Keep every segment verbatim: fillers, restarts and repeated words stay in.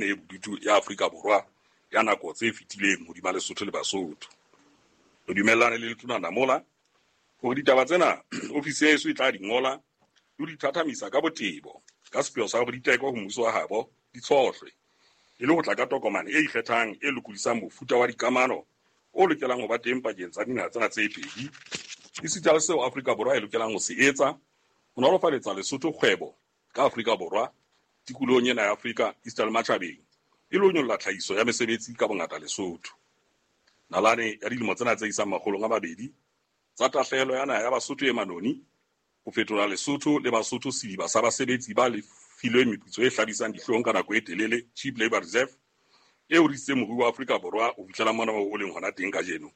e bodutu ya Afrika Borwa ya nako tse fetileng hodima Lesotho le Basotho. Re dumellane le Letona Lamola hore ditaba tsena ofisi ya heso e tla di ngola le ho di thathamisa ka botebo ka sepheo sa hore di tekwe ho mmuso wa habo di tshohlwe e le ho tla ka tokomane e ikgethang e lokodisang mofuta wa dikamano o lokelang ho ba teng pakeng tsa dinaha tsena tse pedi, esita le seo Afrika Borwa e lokelang ho se etsa ho nolofaletsa Lesotho kgwebo ka Afrika Borwa tikolohong ena ya Afrika esita le matjhabeng e le ho nyolla tlhahiso ya mesebetsi ka bongata Lesotho. Nalane ya dilemo tsena tse isang makgolong a mabedi tsa tahlehelo ya naha ya Basotho e manoni ho fetola Lesotho le Basotho sediba sa basebetsi ba lefilweng meputso e hlabisang dihlong ka nako e telele, cheap labor reserve, e horisitseng moruo wa Afrika Borwa ho fihlela mona moo o leng hona teng kajeno.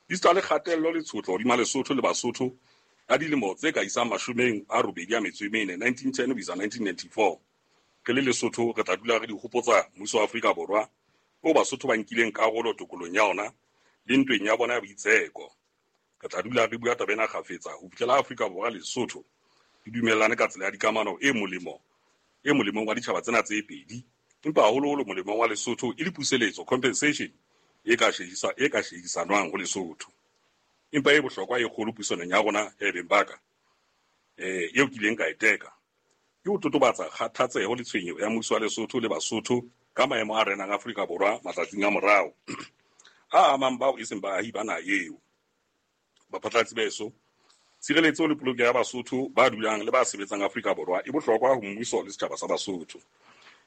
Esita le kgatello le tshotlo hodima Lesotho le Basotho ya dilemo tse ka isang mashomeng a robedi a metso e mene, nineteen ten ho isa nineteen ninety-four. Re le Lesotho re tla dula re di hopotsa mmuso wa Afrika Borwa o Basotho ba nkileng karolo tokolong ya ona le ntweng ya bona ya boitseko. Re tla dula re bua taba ena kgafetsa ho fihlela Afrika Borwa le Lesotho di dumellane ka tsela ya dikamano e molemo e molemong wa ditjhaba tsena tse pedi, empa haholoholo molemong wa Lesotho e le puseletso, compensation e ka shehisa e ka shehisanwang ho Lesotho. Empa e bohlokwa e kgolo puisanong ya rona e beng baka eh eo ke ileng ka e teka ke ho totobatsa kgathatseho le tshwenyeho ya mmuso wa Lesotho le Basotho ka maemo a renang Afrika Borwa matsatsing a morao a amang bao e seng baahi ba naha eo. Baphatlalatsi ba heso, tshireletso le polokeho ya Basotho ba dulang le ba sebetsang Afrika Borwa e bohlokwa ho mmuso le setjhaba sa Basotho.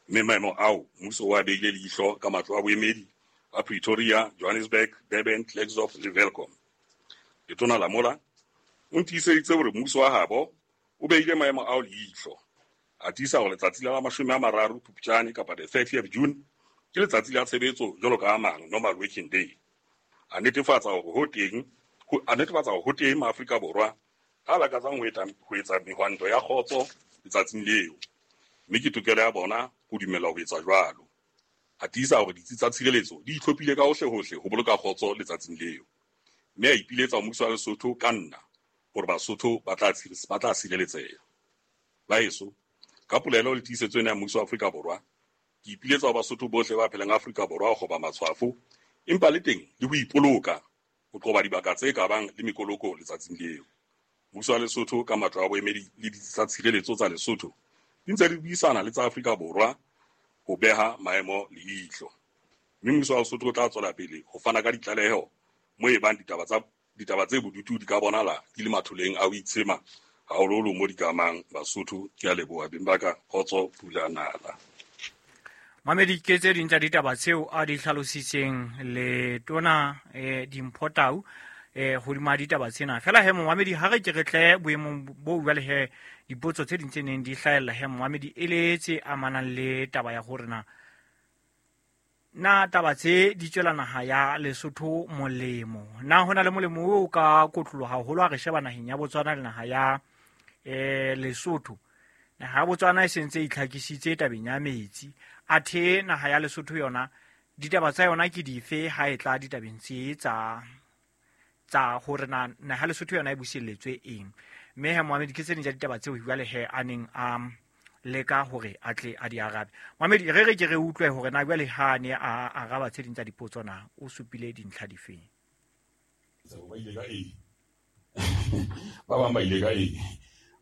Mme maemo ao mmuso o a behile leihlo ka matlo a boemedi a Pretoria, Johannesburg, Durban, Klerksdorp le Welkom. Letona Lamola o ntiiseditse hore mmuso wa habo o behile maemo ao leihlo, a tiisa hore letsatsi la mashome a mararo Phupjane kapa the thirtieth June ke letsatsi la tshebetso jwalo ka a mang, normal working day. A netefatsa hore ho teng ho a netefatsa hore ho teng Maafrika Borwa a lakatsang ho etsa ho etsa mehwanto ya kgotso letsatsing leo, mme ke tokelo ya bona ho dumellwa ho etsa jwalo. A tiisa hore ditsi tsa tshireletso di itlhophile ka hohle-hohle ho boloka kgotso letsatsing leo, mme a ipiletsa ho mmuso wa Lesotho ka nna hore Basotho ba tla ba tla sireletseha. Ba heso, ka polelo le tiisetso ena ya mmuso wa Afrika Borwa, ke ipiletsa ho Basotho bohle ba phelang Afrika Borwa ho kgoba matshwafo, empa le teng le ho ipoloka ho qoba dibaka tse ka bang le mekoloko letsatsing leo. Mmuso wa Lesotho ka matlo a boemedi le ditsi tsa tshireletso tsa Lesotho di ntse di buisana le tsa Afrika Borwa ho beha maemo leihlo. Mme mmuso wa Lesotho o tla tswela pele ho fana ka ditlaleho mo e bang ditaba tsa ditaba tse bodutu di ka bonahala di le matholeng a ho itshema haholoholo mo di ka amang Basotho. Ke a leboha beng ba ka, kgotso pula nala. Mamedi, ke tse ding tsa ditaba tseo a di hlalositseng le tona eh, Dimpho Tau eh, hodima ditaba tsena. Fela he momamedi, ha re ke re tle boemong bo jwale he dipotso tse ding tse neng di hlahella he momamedi e le tse amanang le taba ya hore na na taba tse di tswela naha ya Lesotho molemo, na hona le molemo o ka kotloloha haholo ha re sheba naheng ya Botswana le naha ya eh, Lesotho. Naha ya Botswana e sentse e itlhakisitse tabeng ya metsi, athe naha ya Lesotho yona ditaba tsa yona ke dife ha e tla ditabeng tse tsa tsa hore na naha ya Lesotho yona e buselletswe eng. Mme he Mohamedi, ke tse ding tsa ditaba tseo jwale he a neng a leka hore a tle a di arabe. Mohamedi, re re ke re utlwe hore na jwale ha ne a araba tse ding tsa dipotso na o supile dintlha difeng. Ba ile ka eng? Ba bang ba ile ka eng?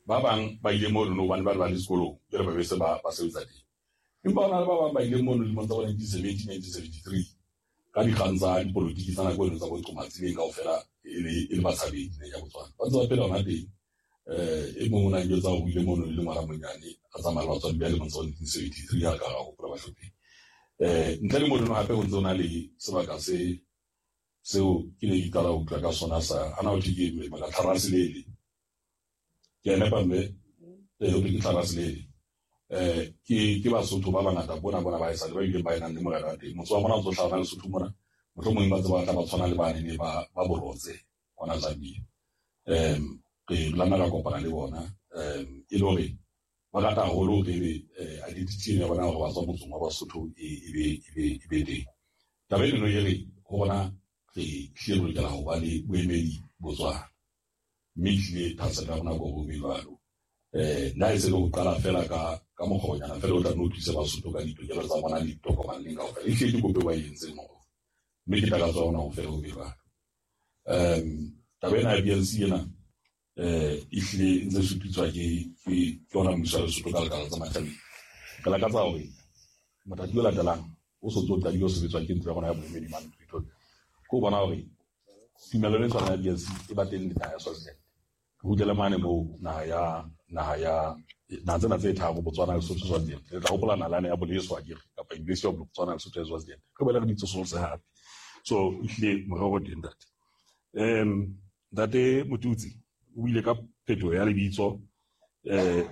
Ba bang ba ile mono hobane ba le ba le sekolong, jwale ba be se ba ba sebetsa teng. Empa hona le ba bang ba ile mono dilemong tsa bo nineteen seventy, nineteen seventy-three ka dikgang tsa dipolotiki tsa nako eno tsa bo Qomatsi kaofela e le e le batshabedi naheng ya Botswana. Ba ntse ba phela hona teng. Eh, e mong o na njwetsa hore o ile mono e le ngwana monyane a tsamaya le batswadi ba lemong tsa bo nineteen seventy-three ha ka ra hopola bahlopheng. Eh, ntle le mono hape ho ntse ho na le sebaka se seo ke ne ke qala ho utlwa ka sona sa hana ho thwe ke maka Tlharaselele. Ke a nepa mme? Eh, ho thwe ke Tlharaselele. Eh, ke ke Basotho ba bangata bona bona ba esale ba ileng ba enang le morena wa teng. Motse wa bona o tlo hlaha Lesotho mona, mohlomong ba tseba ba tla ba tshwana le bane ne ba ba Borotse hona Zambia. Em, re lana ra kopana le bona, em, e le hore ba rata haholo hore ebe, eh, identity ya bona hore ba tswa motseng wa Basotho e, e be, e be, e be teng. Taba eno e re ho rona re hlile re lokela ho ba le boemedi Botswana, mme ehlile thahasello ya rona ke hore ho be jwalo. Eh na e se le ho qala fela ka ka mokgonyana fela o tla no thusa Basotho ka ditokelo tsa bona le ditokomane kaofela. Ehlile ke kopo e ba e entseng hore mme ke takatso ya rona ho fela ho be jwalo. Um taba ena ya B N C ena eh ehlile e ntse e sututswa ke ke ke ona mmuso wa Lesotho ka lekala tsa matjhabeng. Re lakatsa hore mothati o latelang o so ntso o qadile ho sebetswa ke ntlo ya rona ya boemedi mane Pretoria. Ke ho bona hore tumellano e tshwanang ya B N C e ba teng le naha ya Swaziland. Re kgutlele mane moo naha ya naha ya naha tsena tse tharo Botswana, Lesotho, Swaziland. Le tla hopola nalane ya Boleswa akere kapa University of Botswana, Lesotho le Swaziland. Re boele re di tsosolose hape. So ehlile morero o teng ntate. Um ntate Motutsi o ile ka phetoho ya lebitso. Eh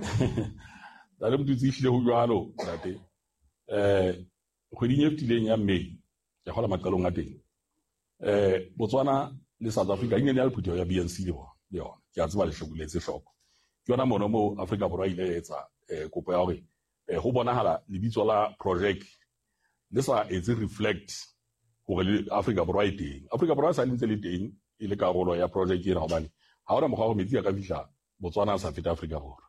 ntate Motutsi ehlile ho jwalo ntate. Eh kgweding e fetileng ya May ke kgola maqalong a teng. Eh Botswana le South Africa e ne le phutheho ya B N C le bona le yona. Ke a tseba le hlokoletse hloko. Ke yona mono moo Afrika Borwa ile ya etsa eh kopo ya hore eh ho bonahala lebitso la project le sa etse reflect hore le Afrika Borwa e teng. Afrika Borwa sa le ntse le teng e le karolo ya project ena hobane ha hona mokgwa wa hore metsi a ka fihla Botswana a sa feta Afrika Borwa.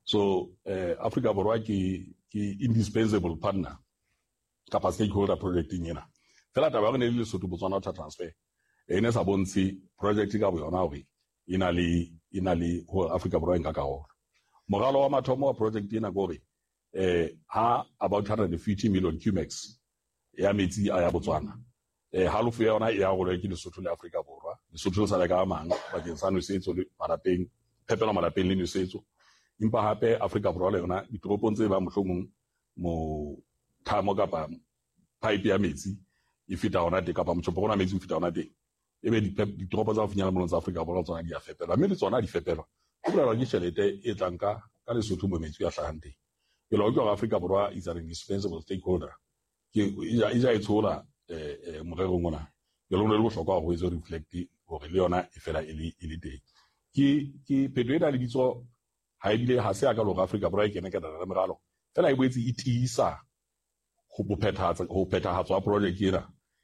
So eh Afrika Borwa ke ke indispensable partner kapa stakeholder projecteng ena. Fela taba ya hore ne le Lesotho Botswana Water Transfer e ne sa bontshe project ka boyona hore e na le e na le hore Afrika Borwa e nka karolo. Moralo wa mathomo wa project ena ke hore eh ha about one hundred fifty million cumex ya metsi a ya Botswana eh halofo ya yona e arolwe ke Lesotho le Afrika Borwa. Lesotho le sale ka a mang bakeng sa nosetso le malapeng, phepelo malapeng le nosetso. Empa hape Afrika Borwa le yona ditoropong tse bang mohlomong mo thamo kapa pipe ya metsi e feta hona teng kapa motjhopo ona metsi o feta hona teng. Ebe ditoropo tsa ho finyella molong tsa Afrika Borwa tsona di a fepelwa, mme le tsona di fepelwa. Ho bolelwa ke tjhelete e tlang ka ka Lesotho mo metsi a hlahang teng. Jwale ho utlwa hore Afrika Borwa is an indispensable stakeholder. Ke e ja e ja e tshola eh eh morerong ona. Jwale ho ne le bohlokwa hore ho etswe reflect hore le yona e fela e le e le teng. Ke ke phetoho ena lebitso ha ebile ha se ya ka hore Afrika Borwa e kene ka taba ya meralo. Fela e boetse e tiisa ho phethahatsa ho phethahatswa ha project ena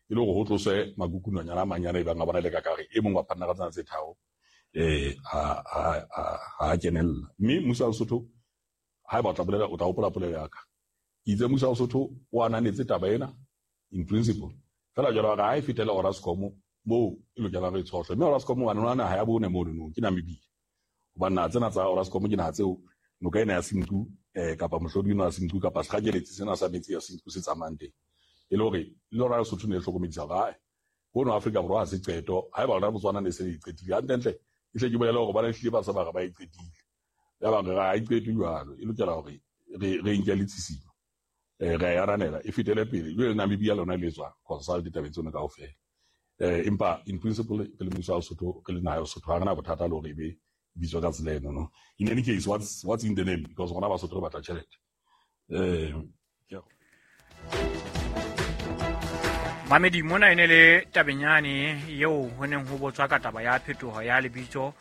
e le hore ho tloswe makukunonyana a manyane e bang a bona le ka kare e mong wa partner tsena tse tharo eh ha ha ha kenella. Mme mmuso wa Lesotho haeba o tla bolela o tla hopola polelo ya ka. Ke itse mmuso wa Lesotho o ananetse taba ena in principle. Fela jwale hore ha e fetele Orascom moo e lokelang re tshohle. Mme Orascom wa nona naha ya bone mono no ke Namibia. Hobane naha tsena tsa Orascom ke naha tseo noka ena ya Senqu eh kapa mohlodi ona wa Senqu kapa sekgakeletsi sena sa metsi ya Senqu se tsamayang teng. E le hore le lona Lesotho ne le hlokomedisa hore hai hono Afrika Borwa ha se qeto haeba lona Botswana ne se le qetile hantlentle e hle ke bolele hore bana ehlile ba sa ba re ba e qetile. Ya ba re ha e qetwe jwalo e lokela hore re re nke le tshisinyo eh re a ananela e fetele pele. Jwale Namibia lona le tswa consult ditabeng tsona kaofela. Eh empa in principle re le mmuso wa Lesotho re le naha ya Lesotho ha re na bothata le hore ebe bitswa ka tsela eno no. In any case what's what's in the name because rona Basotho re batla tjhelete. Eh ke Mamedi mona e ne le tabenyane eo ho neng ho botswa ka taba ya phetoho ya lebitso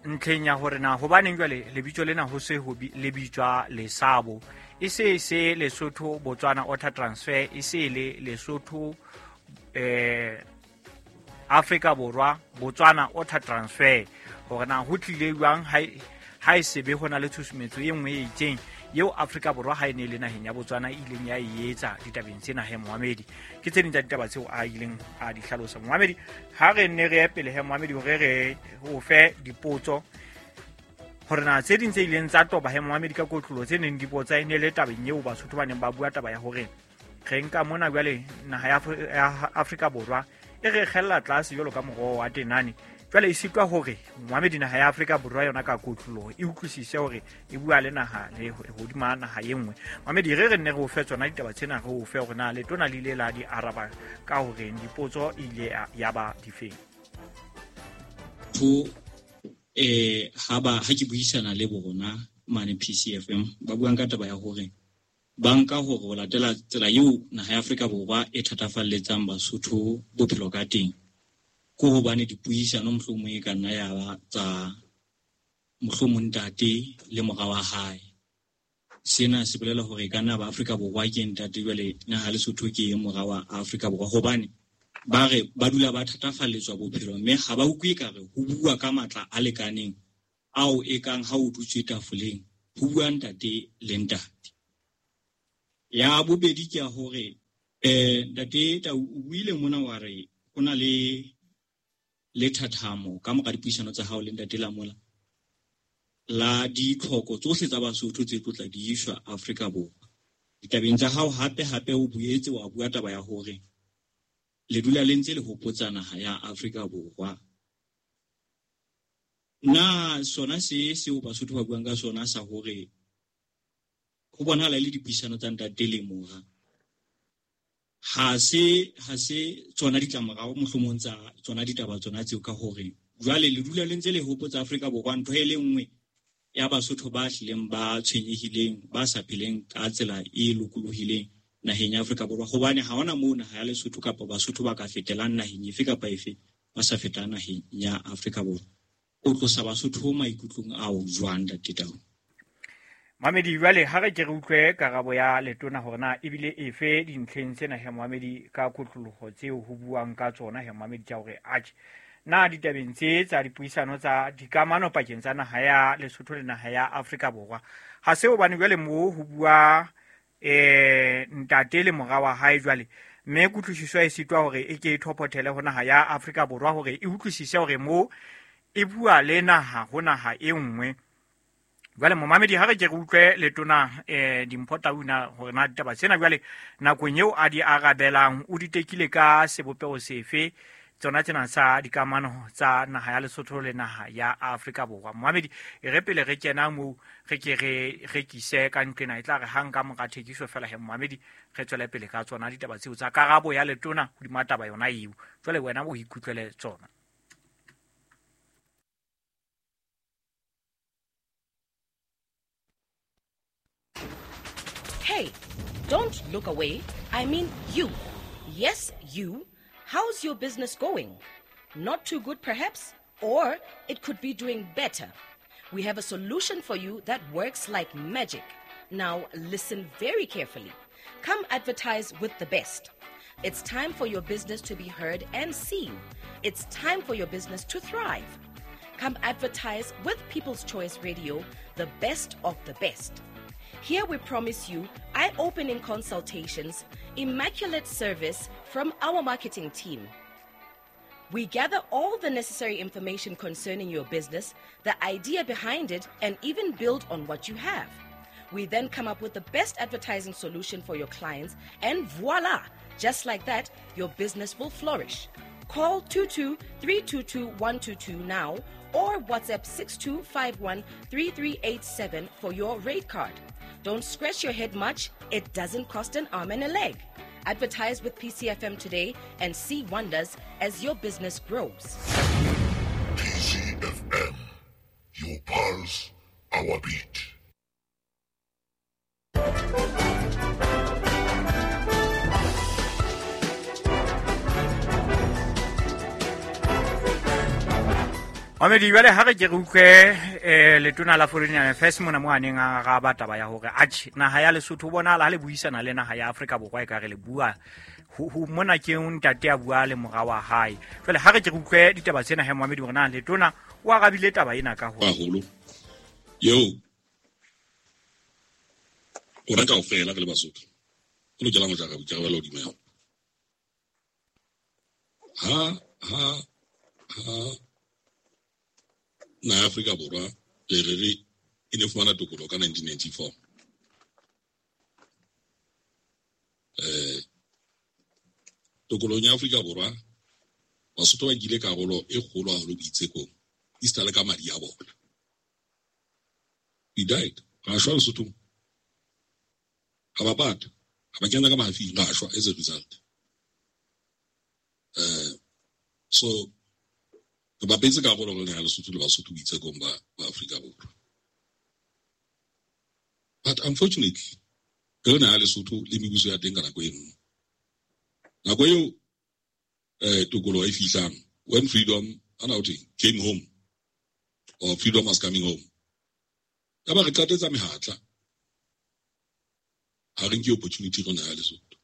ntlheng ya hore na hobaneng jwale lebitso lena ho se ho le bitswa Lesabo e se se Lesotho Botswana Water Transfer e se le Lesotho eh Afrika Borwa Botswana Water Transfer hore na ho tlile jwang ha ha e sebe hona le tshusumetso e nngwe e itseng eo Afrika Borwa ha e ne le naheng ya Botswana e ileng ya e etsa ditabeng tsena he Mohamedi. Ke tse ding tsa ditaba tseo a ileng a di hlalosa Mohamedi. Ha re nne re ye pele he Mohamedi hore re o fe dipotso hore na tse ding tse ileng tsa toba he Mohamedi ka kotlolo tse neng di botsa e ne le tabeng eo Basotho ba neng ba bua taba ya hore re nka mona jwale naha ya Afrika Borwa e re kgella tlase jwalo ka moroho wa tenane. Jwale e sitwa hore Mohamedi naha ya Afrika Borwa yona ka kotloloho e utlwisise hore e bua le naha le hodima naha e nngwe. Mohamedi re re nne re o fe tsona ditaba tsena re o fe hore na letona le ile la di araba ka hore dipotso e ile ya ba difeng. Ho eh ha ba ha ke buisana le bona mane P C F M ba buang ka taba ya hore ba nka hore ho latela tsela eo naha ya Afrika Borwa e thatafalletsang Basotho bophelo ka teng. Ko hobane dipuisano mohlomong e ka nna ya ba tsa mohlomong ntate le mora wa hae. Sena se bolela hore e ka nna ba Afrika Borwa ke ntate jwale naha Lesotho ke mora wa Afrika Borwa hobane ba re ba dula ba thatafalletswa bophelo mme ha ba utlwe ekare ho bua ka matla a lekaneng ao e kang ha o dutse tafoleng ho bua ntate le ntate. Ya bobedi ke ya hore eh ntate Tau o buile mona wa re ho na le le thathamo ka mora dipuisano tsa hao le ntate Lamola la ditlhoko tsohle tsa Basotho tse tlotla di iswa Afrika Borwa. Ditabeng tsa hao hape hape o buetse wa bua taba ya hore le dula le ntse le hopotsa naha ya Afrika Borwa. Na sona se seo Basotho ba buang ka sona sa hore ho bonahala le dipuisano tsa ntate le mora ha se ha se tsona ditlamorao mohlomong tsa tsona ditaba tsona tseo, ka hore jwale le dula le ntse le hopotsa Afrika Borwa ntho e le nngwe ya Basotho ba hlileng ba tshwenyehileng ba sa pheleng ka tsela e lokolohileng naheng ya Afrika Borwa, hobane ha hona moo naha ya Lesotho kapa Basotho ba ka fetelang naheng efe kapa efe ba sa feta naheng ya Afrika Borwa. O tlosa Basotho maikutlong ao jwang ntate Tau? Mamedi, jwale ha re ke re utlwe karabo ya letona hore na ebile efe dintlheng tsena he Mohamedi ka kotloloho tseo ho buang ka tsona he Mohamedi tsa hore atjhe na ditabeng tse tsa dipuisano tsa dikamano pakeng tsa naha ya Lesotho le naha ya Afrika Borwa ha se hobane jwale moo ho bua eh ntate le mora wa hae jwale mme kutlwisiso e sitwa hore e ke e thopothele ho naha ya Afrika Borwa hore e utlwisise hore moo e bua le naha ho naha e nngwe. Jwale momamedi ha re ke re utlwe letona eh Dimpho Tau na hore na ditaba tsena jwale nakong eo a di arabelang o di tekile ka sebopeho sefe tsona tsena sa dikamano tsa naha ya Lesotho le naha ya Afrika Borwa. Momamedi e re pele re kena moo re ke re rekise ka nqena e tla re hang ka mora thekiso fela he momamedi re tswele pele ka tsona ditaba tseo tsa karabo ya letona hodima taba yona eo. Jwale wena o ikutlwele tsona. Hey, don't look away. I mean you. Yes, you. How's your business going? Not too good, perhaps? Or it could be doing better. We have a solution for you that works like magic. Now, listen very carefully. Come advertise with the best. It's time for your business to be heard and seen. It's time for your business to thrive. Come advertise with People's Choice Radio, the best of the best. Here we promise you eye-opening consultations, immaculate service from our marketing team. We gather all the necessary information concerning your business, the idea behind it, and even build on what you have. We then come up with the best advertising solution for your clients, and voila! Just like that, your business will flourish. Call two two three two two one two two now or WhatsApp six two five one three three eight seven for your rate card. Don't scratch your head much. It doesn't cost an arm and a leg. Advertise with P C F M today and see wonders as your business grows. P C F M, your pulse, our beat. Mamedi, jwale ha re ke re utlwe eh letona la Foreign Affairs mona mo a neng a araba taba ya hore atjhe naha ya Lesotho bonahala ha le buisana le naha ya Afrika Borwa e ka re le bua ho mona ke ntate a bua le mora wa hae. Jwale ha re ke re utlwe ditaba tsena he Mamedi hore na letona o arabile taba ena ka hore haholo yo o reka ofela re le Basotho o lokela ho jara boikarabelo hodimo ya ha ha ha na Afrika Borwa re re re e ne fumana tokoloho ka nineteen ninety-four. Eh tokolohong ya Afrika Borwa Basotho ba nkile karolo e kgolo haholo boitsekong esita le ka madi a bona. We died. Ra shwa Lesothong. Ha ba pata. Ha ba kena ka mahafing, ra shwa as a result. Eh so re bapetse karolo re na Lesotho le Basotho boitsekong ba ba Afrika Borwa. But unfortunately, re na Lesotho le mebuso ya teng ka nako e nngwe. Nako eo eh tokoloho e fihlang, when freedom ana o came home or freedom was coming home. Ya ba re qatetsa mehatla. Ha re nke opportunity rona ya Lesotho.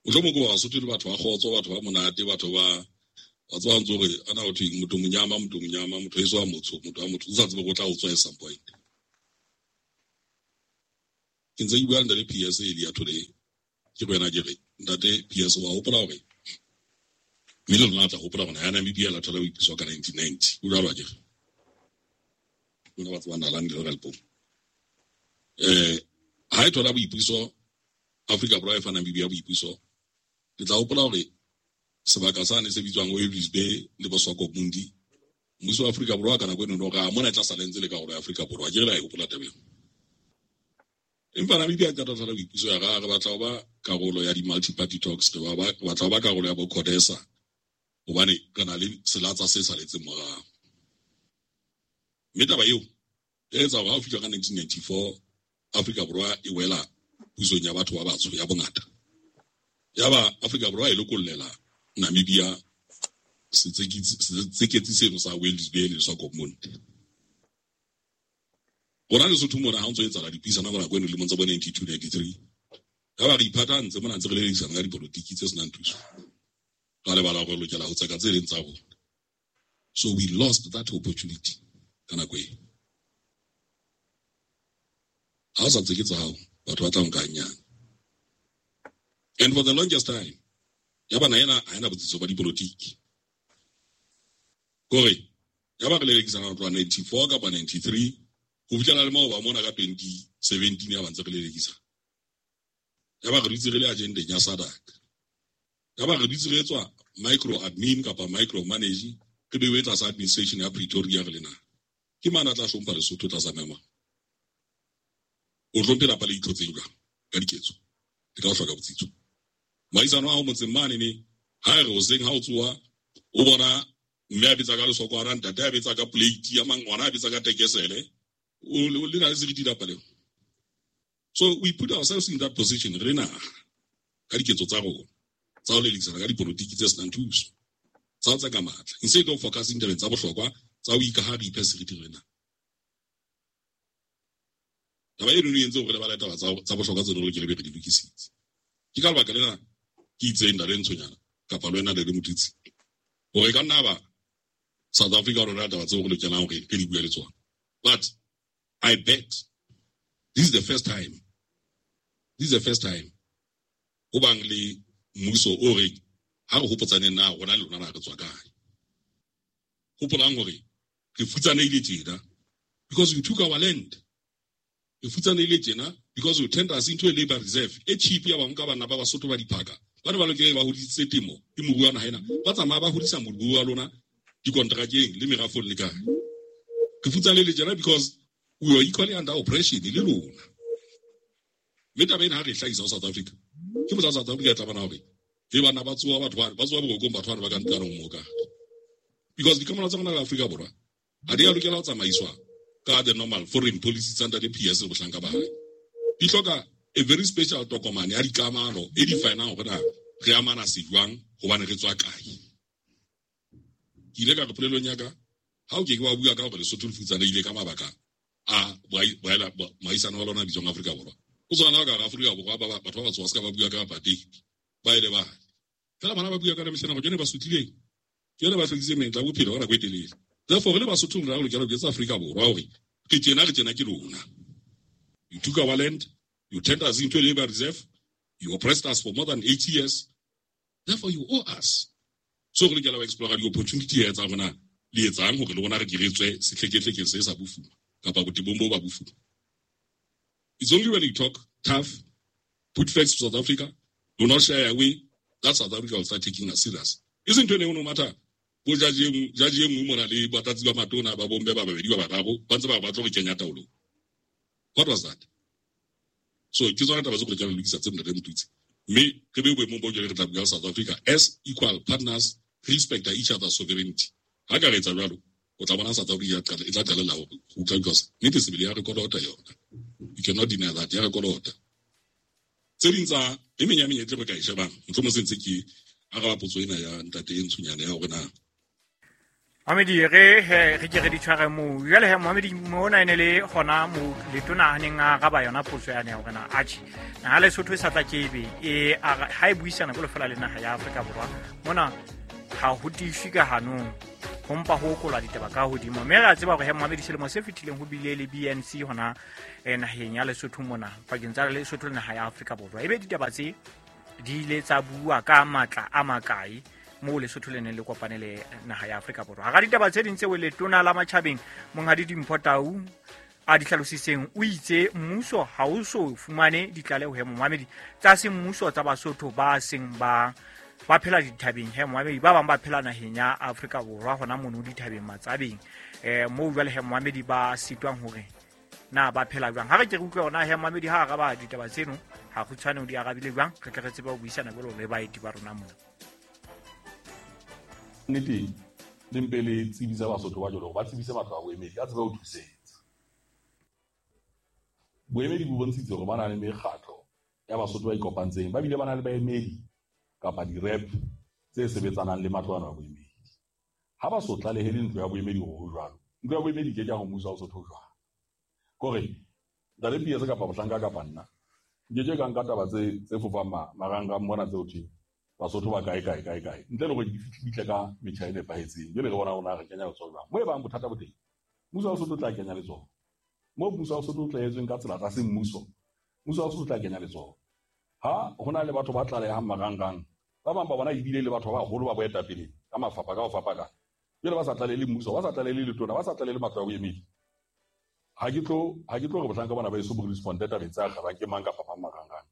Mohlomong ke Basotho le batho ba kgotso, batho ba monate, batho ba Wa tseba ntse hore ana ho thweng motho monyama motho monyama motho eso wa motho motho wa motho o sa tsebe go tla o tswa at some point. Ke ntse ke bua le ntate P S earlier today. Ke go yena ke re ntate P S wa hopola hore mme le lona tla hopola hore ya Namibia la thola boipuso ka nineteen ninety. O jwalo akere? Lona ba tsebang nalane le Lepong. Eh ha e thola boipuso Afrika Borwa e fa Namibia boipuso. Le tla hopola hore sebaka sane se bitswang Walvis Bay le Boswakomundi. Mmuso wa Afrika Borwa ka nako eno no ga mona e tla sala ntse le karolo ya Afrika Borwa. Ke re la e hopola taba eo. Empa Namibia e tla thola boipuso ya ga re batla ho ba karolo ya di-multi-party talks, re ba batla ho ba karolo ya bo CODESA hobane re na le selatsa se saletseng morao. Mme taba eo e etsa hore ha o fihla ka nineteen ninety-four Afrika Borwa e wela pusong ya batho ba batsho ya bongata. Yaba Afrika Borwa e lokollela Namibia setseketsi seno sa Walvis Bay le Swakopmund. Rona Lesotho mona ha o ntso etsahala dipuisano ka nako eno dilemong tsa bo ninety-two ninety-three. Yaba re iphatantse mona ntse re lelekisana ka dipolotiki tse senang thuso. Ra lebala hore re lokela ho tseka tse leng tsa rona. So we lost that opportunity ka nako eo. Ha o sa tseke tsa hao, batho ba tla nka hanyane. And for the longest time, yaba na ena ha ena botsitso ba dipolotiki. Kore, yaba re lelekisana ho tloha ninety-four kapa ninety-three, ho fihlela le maoba mona ka twenty seventeen ya ba ntse re lelekisa. Yaba re dutse re le agendeng ya SADC. Yaba re dutse re etswa micro admin kapa micro manage, re bewe tlasa administration ya Pretoria re le naha. Ke mang a tla hlompha Lesotho tlasa mema? O hlomphe lapa le itlhotseng jwang ka diketso le ka ho hloka botsitso. Moahisano wa hao motseng mane ne ha e re hoseng ha o tsoha o bona mme a betsa ka lesokwana, ntate a betsa ka plate ya mang, ngwana a betsa ka tekesele, o le na le seriti lapa leo. So we put ourselves in that position re naha ka diketso tsa rona tsa ho lelekisana ka dipolotiki tse senang thuso, tsa ho tseka matla, instead of focusing tabeng tsa bohlokwa tsa ho ikaha re iphe seriti re naha. Taba eno e entse hore re lebale taba tsa bohlokwa tse re be re di lokisitse. Ke ka lebaka lena ke itseng ntate Ntshonyana kapa le wena le Motutsi hore ka nna ba South Africa rona taba tseo re lokelang hore re di bue le tsona. But I bet this is the first time, this is the first time ho bang le mmuso o reng ha re hopotsaneng na rona le lona na re tswa kae. Hopolang hore re futsanehile tjena because you took our land. Re futsanehile tjena because you turned us into a labor reserve e cheap ya ba nka bana ba Basotho ba diphaka. Ba ne ba lokela ba hodisitse temo e moruo wa naha ena. Ba tsamaya ba hodisa moruo wa lona dikontrakeng le merafong le kae. Re futsanehile tjena because we were equally under oppression le lona. Mme taba ena ha re e hlahisa ho South Africa, ke motsa South Africa e tla bona hore e bana ba tsoha batho ba ba tsoha borokong batho bana ba ka ntlwaneng mo ka. Because dikamano tsa rona le Afrika Borwa ha di a lokela ho tsamaiswa ka the normal foreign policy tsa ntate P S le bohlanka ba hae. Di hloka a very special tokomane ya dikamano e definang hore na re amana se jwang hobane re tswa kae. Ke ile ka re polelong ya ka ha o ke ke wa bua ka hore Lesotho le futsanehile ka mabaka a moahisano wa lona bitswang Afrika Borwa. O tswana ka Afrika Borwa ba batho ba batho ba se ka ba bua ka apartheid ba ile ba fela bana ba bua ka mehleng go jone ba sutlileng ke yone ba hlokisitse menyetla ya bophelo ka nako e telele. Therefore re le Basotho re lokela ho jwetsa Afrika Borwa hore re tjena re tjena ke lona. You took our land, you turned us into a labor reserve, you oppressed us for more than eight years, therefore you owe us. So re lokela ho explore di-opportunity tsa rona le etsang hore le rona re ke re tswe sehlekehlekeng se sa bofuma kapa botebong bo ba bofuma. It's only when you talk tough, put facts to South Africa, do not shy away, that South Africa will start taking us serious. Isn't it no matter bo jaji jaji e nngwe mona le batlatsi ba matona ba bomme ba babedi ba bararo ba ntse ba batla go kenya taolong. What was that? So ke tsona taba tse go lokela ho lokisa tse ntate Motutsi. Mme re be boemong bo jwale re tla bua South Africa as equal partners, respect each other's sovereignty. Ha ka re etsa jwalo, o tla bona South Africa e tla qalella ho utlwa because nnete sebele ya re kolota yona. You cannot deny that ya re kolota. Tse ding tsa e meng ya menyetla e re ka e shebang, mohlomong se ntse ke araba potso ena ya ntate e Ntshonyana ya hore na Mohamedi re he re ke re di tshware moo. Jwale he Mohamedi mona e ne le hona mo letona a neng a araba yona potso yane ya hore na atjhe naha Lesotho e sa tla ke ebe e ha e buisana jwalo feela le naha ya Afrika Borwa mona ha ho tiiswe ka hanong ho mpa ho okolwa ditaba ka hodimo. Mme re a tseba hore he momamedi selemo se fetileng ho bile le B N C hona naheng ya Lesotho mona pakeng tsa Lesotho le naha ya Afrika Borwa. Ebe ditaba tse di ile tsa bua ka matla a makae moo Lesotho le neng le kopane le naha ya Afrika Borwa. Hara ditaba tse ding tseo letona la matjhabeng Monghadi Dimpho Tau a di hlalositseng o itse mmuso ha o so fumane ditlaleho he momamedi tsa semmuso tsa Basotho ba seng ba ba phela dithabeng he momamedi ba bang ba phela naheng ya Afrika Borwa hona mono dithabeng matsabeng eh moo jwale he momamedi ba sitwang hore na ba phela jwang. Ha re ke re utlwe hona he momamedi ha araba ditaba tseno ha kgutshwane o di arabile jwang, re tle re tsebe ho buisana jwalo le baeti ba rona mona. Nnete le mpe le tsebisa Basotho ba jwalo ba tsebise matlo a boemedi a tsebe ho thusetsa. Boemedi bo bontshitse hore ba na le mekgatlo ya Basotho ba ikopantseng, ba bile ba na le baemedi kapa di-rep tse sebetsanang le matlo ana a boemedi. Ha ba so tlalehele ntlo ya boemedi hore ho jwalo, ntlo ya boemedi ke ke ya ho mmuso wa Lesotho jwang. Kore ntate P S kapa mohlanka kapa nna nke ke ka nka taba tse tse fofang marangrang mona tseo thweng Basotho ba kae kae kae kae ntle le hore di fihle ka metjha e nepahetseng. Jwale re bona rona re kenya letsoho jwang moo e bang bothata bo teng, mmuso wa Lesotho o tla kenya letsoho. Moo mmuso wa Lesotho o tlaetsweng ka tsela tsa semmuso, mmuso wa Lesotho o tla kenya letsoho. Ha ho na le batho ba tlalehang marangrang, ba bang ba bona ebile le batho ba baholo ba boetapele ka mafapha ka ho fapana, jwale ba sa tlalele mmuso, ba sa tlalele letona, ba sa tlalele matlo a boemedi. Ha ke tlo ha ke tlo re bohlanka bona ba eso bo responde tabeng tsa kgabang ke mang kapa mang marangrang.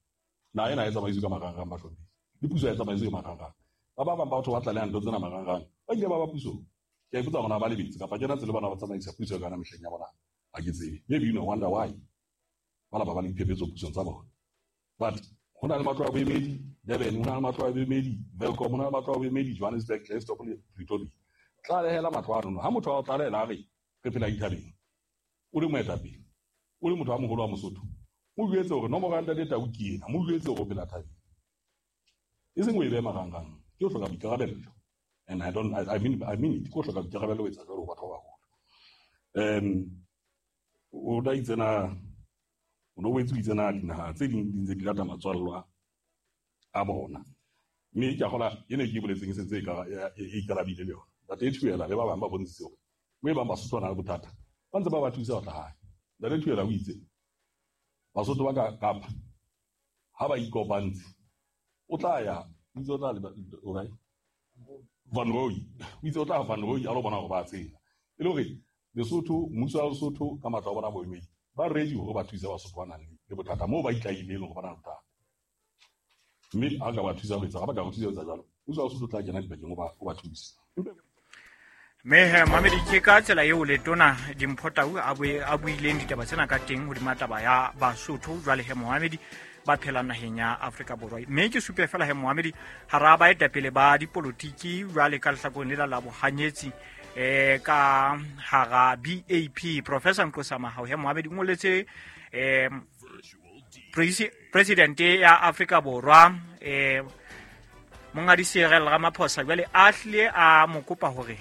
Naha ena e tsamaiswe ka marangrang bahlomphehi, le puso e tsamaiswe ka marangrang. Ba ba bang batho ba tlalehang ntho tsena marangrang ba ile ba ba pusong. Ke a ipotsa hore na ba lebetse kapa kena tsela bona ba tsamaisa puso ka yona mehleng ya bona. Ha ke tsebe. Maybe you know wonder why ba ba ba le diphephetso pusong tsa bona. But ho na le matlo a boemedi Durban, ho na le matlo a boemedi Welkom, ho na le matlo a boemedi Johannesburg, Klerksdorp le Pretoria. Tlalehela matlo a rona. Ha motho a o tlalehela a re re phela dithabeng, o le moetapele, o le motho a moholo wa Mosotho, mo jwetse hore nomoro ya ntate Tau ke ena, mo jwetse hore o phela thabeng. E seng o e behe marangrang, ke ho hloka boikarabello. And I don't, I, I mean, I mean it, ke ho hloka boikarabello ho etsa jwalo ho batho ba baholo. Um, o da itse na, o no boetse o itse na dinaha tse ding di ntse di lata matswallwa a bona. Mme ke a kgola ene ke e boletseng e sentse e ikarabile le yona. Ntate Thuela le ba bang ba bontshitse hore mo e bang Basotho ba na le bothata, ba ntse ba ba thusa ho tla hae. Ntate Thuela o itse Basotho ba ka Kapa ha ba ikopantse o tla ya, o itse o tla o kae? Van Rooi. O itse o tla Van Rooi a lo bona hore ba tsela. E le hore Lesotho, mmuso wa Lesotho ka matlo a bona boemedi ba ready hore ba thuse Basotho ba nang le bothata moo ba itlahileng hore ba na le bothata. Mme ha ka ba thusa ho etsa, ha ba ka ba thusa ho etsa jwalo, mmuso wa Lesotho o tla kena dipakeng o ba o ba thuse. Mme mamedi ke ka tsela eo letona Dimpho Tau a buileng ditaba tsena ka teng hodima taba ya Basotho jwale he momamedi ba phelang naheng ya Afrika Borwa. Mme ke supe fela he momamedi hara baetapele ba dipolotiki jwale ka lehlakoreng lela la bohanyetsi eh ka hara B A P Professor Nqosa Mahao he momamedi o ngoletse eh president ya Afrika Borwa eh Monghadi Cyril Ramaphosa jwale a hlile a mo kopa hore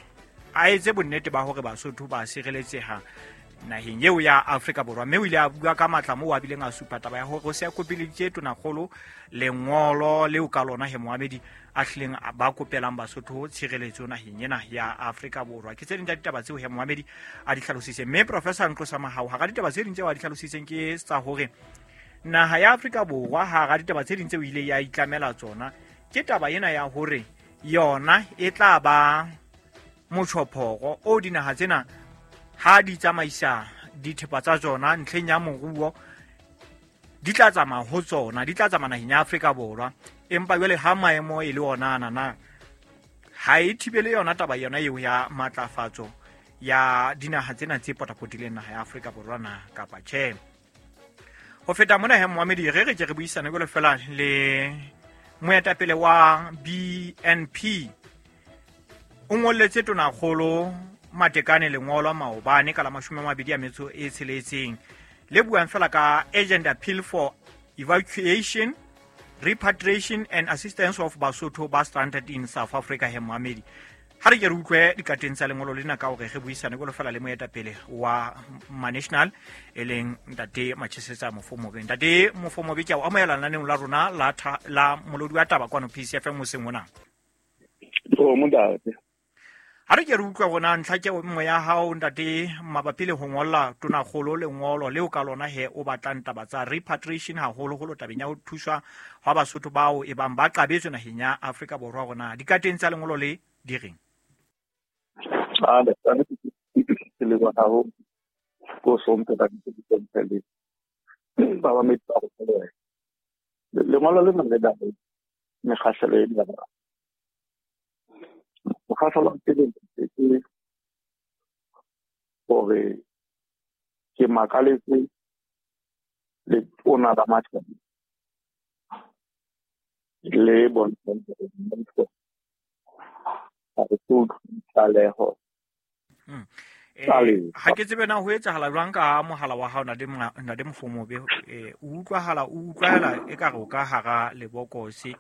a etse bonnete ba hore Basotho ba sireletseha naheng eo ya Afrika Borwa. Mme o ile a bua ka matla moo a bileng a supa taba ya hore o se a kopeleditse tonakgolo lengolo leo ka lona he momamedi a hlileng ba kopelang Basotho tshireletso naheng ena ya Afrika Borwa. Ke tse ding tsa ditaba tseo he momamedi a di hlalositseng. Mme Professor Nqosa Mahao hara ditaba tse ding tseo a di hlalositseng ke tsa hore naha ya Afrika Borwa hara ditaba tse ding tseo ile ya itlamela tsona ke taba ena ya hore yona e tla ba motjhophoro o dinaha tsena ha di tsamaisa dithepa tsa tsona ntlheng ya moruo di tla tsamaya ho tsona, di tla tsamaya naheng ya Afrika Borwa. Empa jwale ha maemo e le ona ana na ha e thibele yona taba yona eo ya matlafatso ya dinaha tsena tse potapotileng naha ya Afrika Borwa na kapa tjhe. Ho feta mona he momamedi re re ke re buisane jwalo fela le moetapele wa B N P o ngolletse tonakgolo Matekane lengolo maobane ka la mashome a mabedi a metso e tsheletseng le buang fela ka urgent appeal for evacuation, repatriation and assistance of Basotho ba stranded in South Africa. He momamedi ha re ke re utlwe dikateng tsa lengolo lena ka hore re buisane jwalo fela le moetapele wa Manational e leng ntate Machesetsa Mofomobe. Ntate Mofomobe, ke a o amohela lenaneong la rona la la molodi wa taba kwano P C F M hoseng hona. O montate. Ha re ke re utlwa rona ntlha ke nngwe ya hao ntate mabapi le ho ngolla tonakgolo lengolo leo ka lona he o batlang taba tsa repatriation haholoholo tabeng ya ho thuswa hwa Basotho bao e bang ba qabetswe naheng ya Afrika Borwa rona dikateng tsa lengolo le di reng? Ah, ke leboha haholo ko hlomphe ka ditshepiso le ba ba metsi a go tswelela. Lengolo lena le na le mekgahlelo e meraro. Mokgahlelo wa pele ke hore ke makaletse letona la matjhaba le bontshang hore mmuso ha o so utlwe tlaleho Eh, ha ke tsebe na ho etsahala jwang ka mohala wa hao ntate ntate Mofomobe eh o utlwahala o utlwahala ekare o ka hara lebokose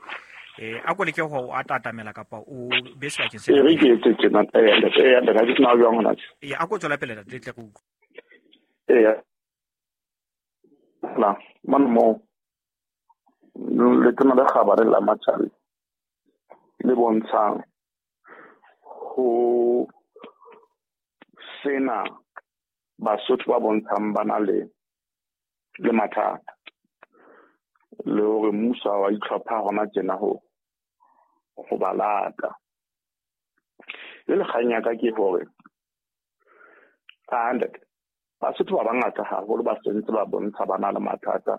eh a ko leke ho a tatamela kapa o be sebakeng se E re ke etse tjena eh eh ntate ha ke tsena jwang hona tje. Eh a ko tswela pele ntate tle re utlwe. Eya. La mane moo letona le kgabane la matjhaba le bontshang ho sena Basotho ba bontshang ba na le le mathata le hore mmuso ha wa itlhopha hona tjena ho ho ba lata. Le kgang ya ka ke hore a ntate Basotho ba bangata haholo ba sentse ba bontsha ba na le mathata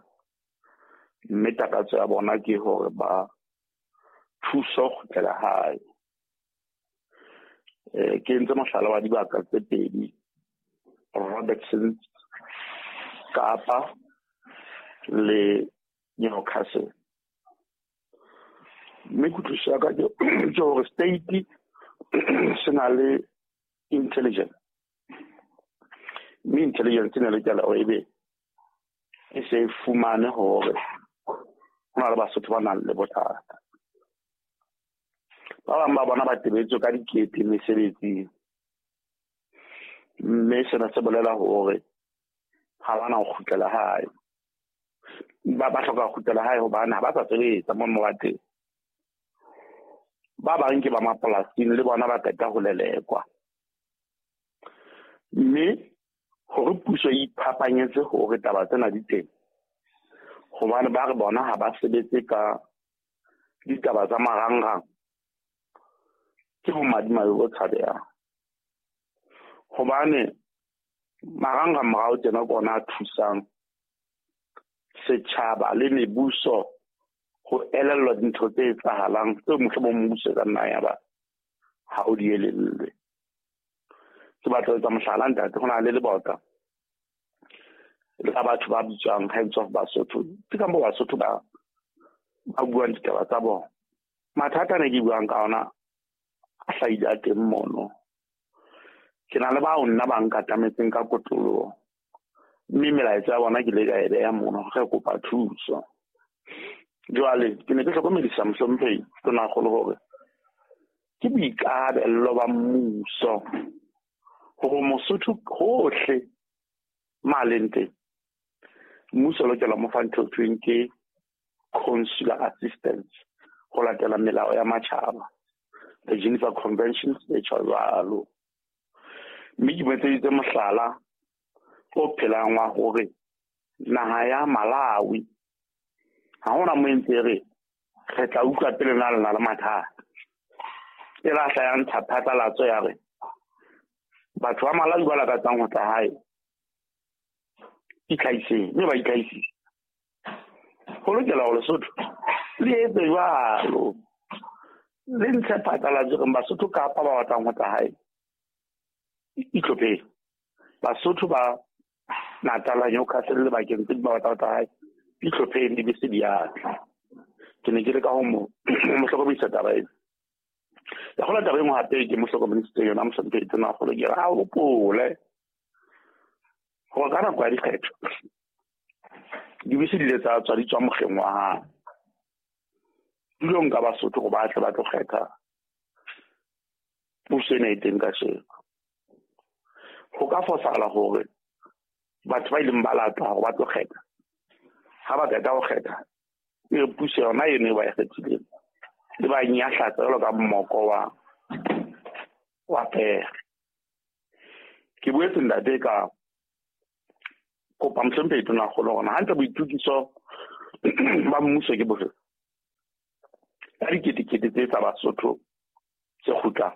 mme takatso ya bona ke hore ba thuso ho kgutlela hae. Eh ke entse mohlala wa dibaka tse pedi, Robertson Kapa le Newcastle. Mme kutlwisiso ya ka ke ke hore state se na le intelligence, mme intelligence e ne lokela hore ebe e se e fumane hore ho na le Basotho ba nang le bothata. Ba bang ba bona ba tebetswe ka dikete mesebetsing, mme sena se bolela hore ha ba na ho kgutlela hae. Ba ba hloka ho kgutlela hae hobane ha ba sa sebetsa moo mo ba teng. Ba bang ke ba mapolasing le bona ba qeta ho lelekwa. Mme hore puso e iphapanyetse hore taba tsena di teng, hobane ba re bona ha ba sebetse ka ditaba tsa marangrang, ke bomadimabe bo tshabehang. Hobane marangrang morao tjena ke ona a thusang setjhaba le mebuso ho elellwa dintho tse etsahalang tseo mohlomong mmuso e ka nna ya ba ha o di elellwe. Ke batla ho etsa mohlala ntate, ho na le lebota la batho ba bitswang Hands of Basotho. Ke ka moo Basotho ba ba buang ditaba tsa bona. Mathata ne ke buang ka ona a hlahile a teng mono. Ke na le bao nna ba nkatametseng ka kotloloho, mme melaetsa ya bona ke ile ka e beha mono re kopa thuso. Jwale ke ne ke hlokomedisa mohlomphehi tonakgolo hore ke boikarabello ba mmuso hore Mosotho hohle ma leng teng, mmuso o lokela ho mo fa ntho e thweng ke consular assistance ho latela melao ya matjhaba, the Geneva Conventions e tjho jwalo. Mme ke mo etseditse mohlala o phelang wa hore naha ya Malawi ha hona mo entse re re tla utlwa pele na le na le mathata. E la hla ya ntsha phatlalatso ya re batho ba Malawi ba lakatsang ho tla hae itlhahiseng, mme ba itlhahisitse. Ho lokela hore Lesotho le etse jwalo, le ntshe phatlalatso reng Basotho Kapa ba batlang ho tla hae itlhopheng, Basotho ba Natal Newcastle le bakeng tse ding ba batlang ho tla hae itlhopheng, dibese di a tla. Ke ne ke le ka ho mo mo hlokomedisa taba ena. Ya kgola taba e nngwe hape ke mo hlokomedisitse yona mohlomphehi tonakgolo, ke re a hopole hore ka nako ya dikgetho dibese di ile tsa tswa di tswa mokgeng wa hae tulong ka Basotho hore ba tle ba tlo kgetha puso ena e teng kasheko. Ho ka fosahala hore batho ba ileng ba latwa hore ba tlo kgetha, ha ba qeta ho kgetha e re puso yona eno e ba e kgethileng le ba nyahlatsa jwalo ka mmoko wa o apere. Ke boetse ntate ka kopa mohlomphehi Tonakgolo hore hantle boitukiso ba mmuso ke bofe ka diketekete tse tsa Basotho tse kgutlang.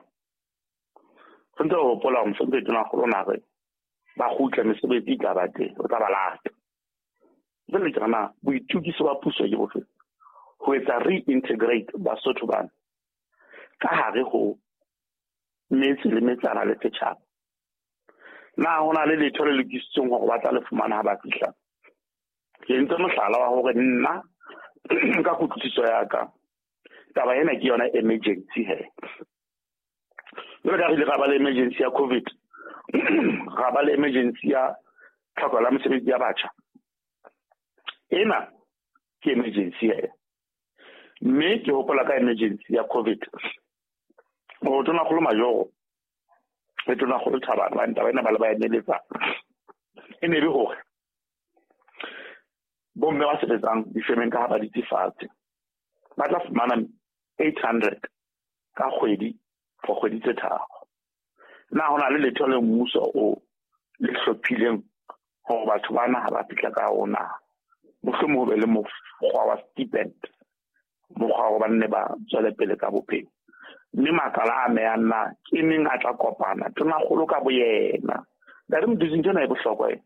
Re ntse re hopola hore mohlomphehi Tonakgolo o na re ba kgutle mesebetsi e tla ba teng, o tla ba lata. Jwale ke re na boitukiso ba puso ke bofe ho etsa reintegrate Basotho bana ka hare ho metse le metsana le setjhaba. Na ho na le letho le lokisitsweng hore ba tla le fumana ha ba fihla? Ke entse mohlala wa hore nna ka kutlwisiso ya ka taba ena ke yona emergency he. Jwale ka re ile ra ba le emergency ya COVID, ra ba le emergency ya tlhoko la mesebetsi ya batjha. Ena ke emergency he. Mme ke hopola ka emergency ya COVID hore Tonakgolo Majoro le Tonakgolo Thabane ba ntaba ena ba le ba emeletsa e ne be hore bomme ba sebetsang difemeng ka ha ba ditse fatshe ba tla fumana eight hundred ka kgwedi for kgwedi tse tharo. Na ho na le letho le mmuso o le hlophileng hore batho bana ha ba fihla ka ona mohlomong ho be le mokgwa wa stipend, mokgwa wa ba nne ba tswele pele ka bophelo. Mme makala a amehang na ke neng a tla kopana Tonakgolo ka boyena. Ntate Mduduzi, ntho ena e bohlokwa e.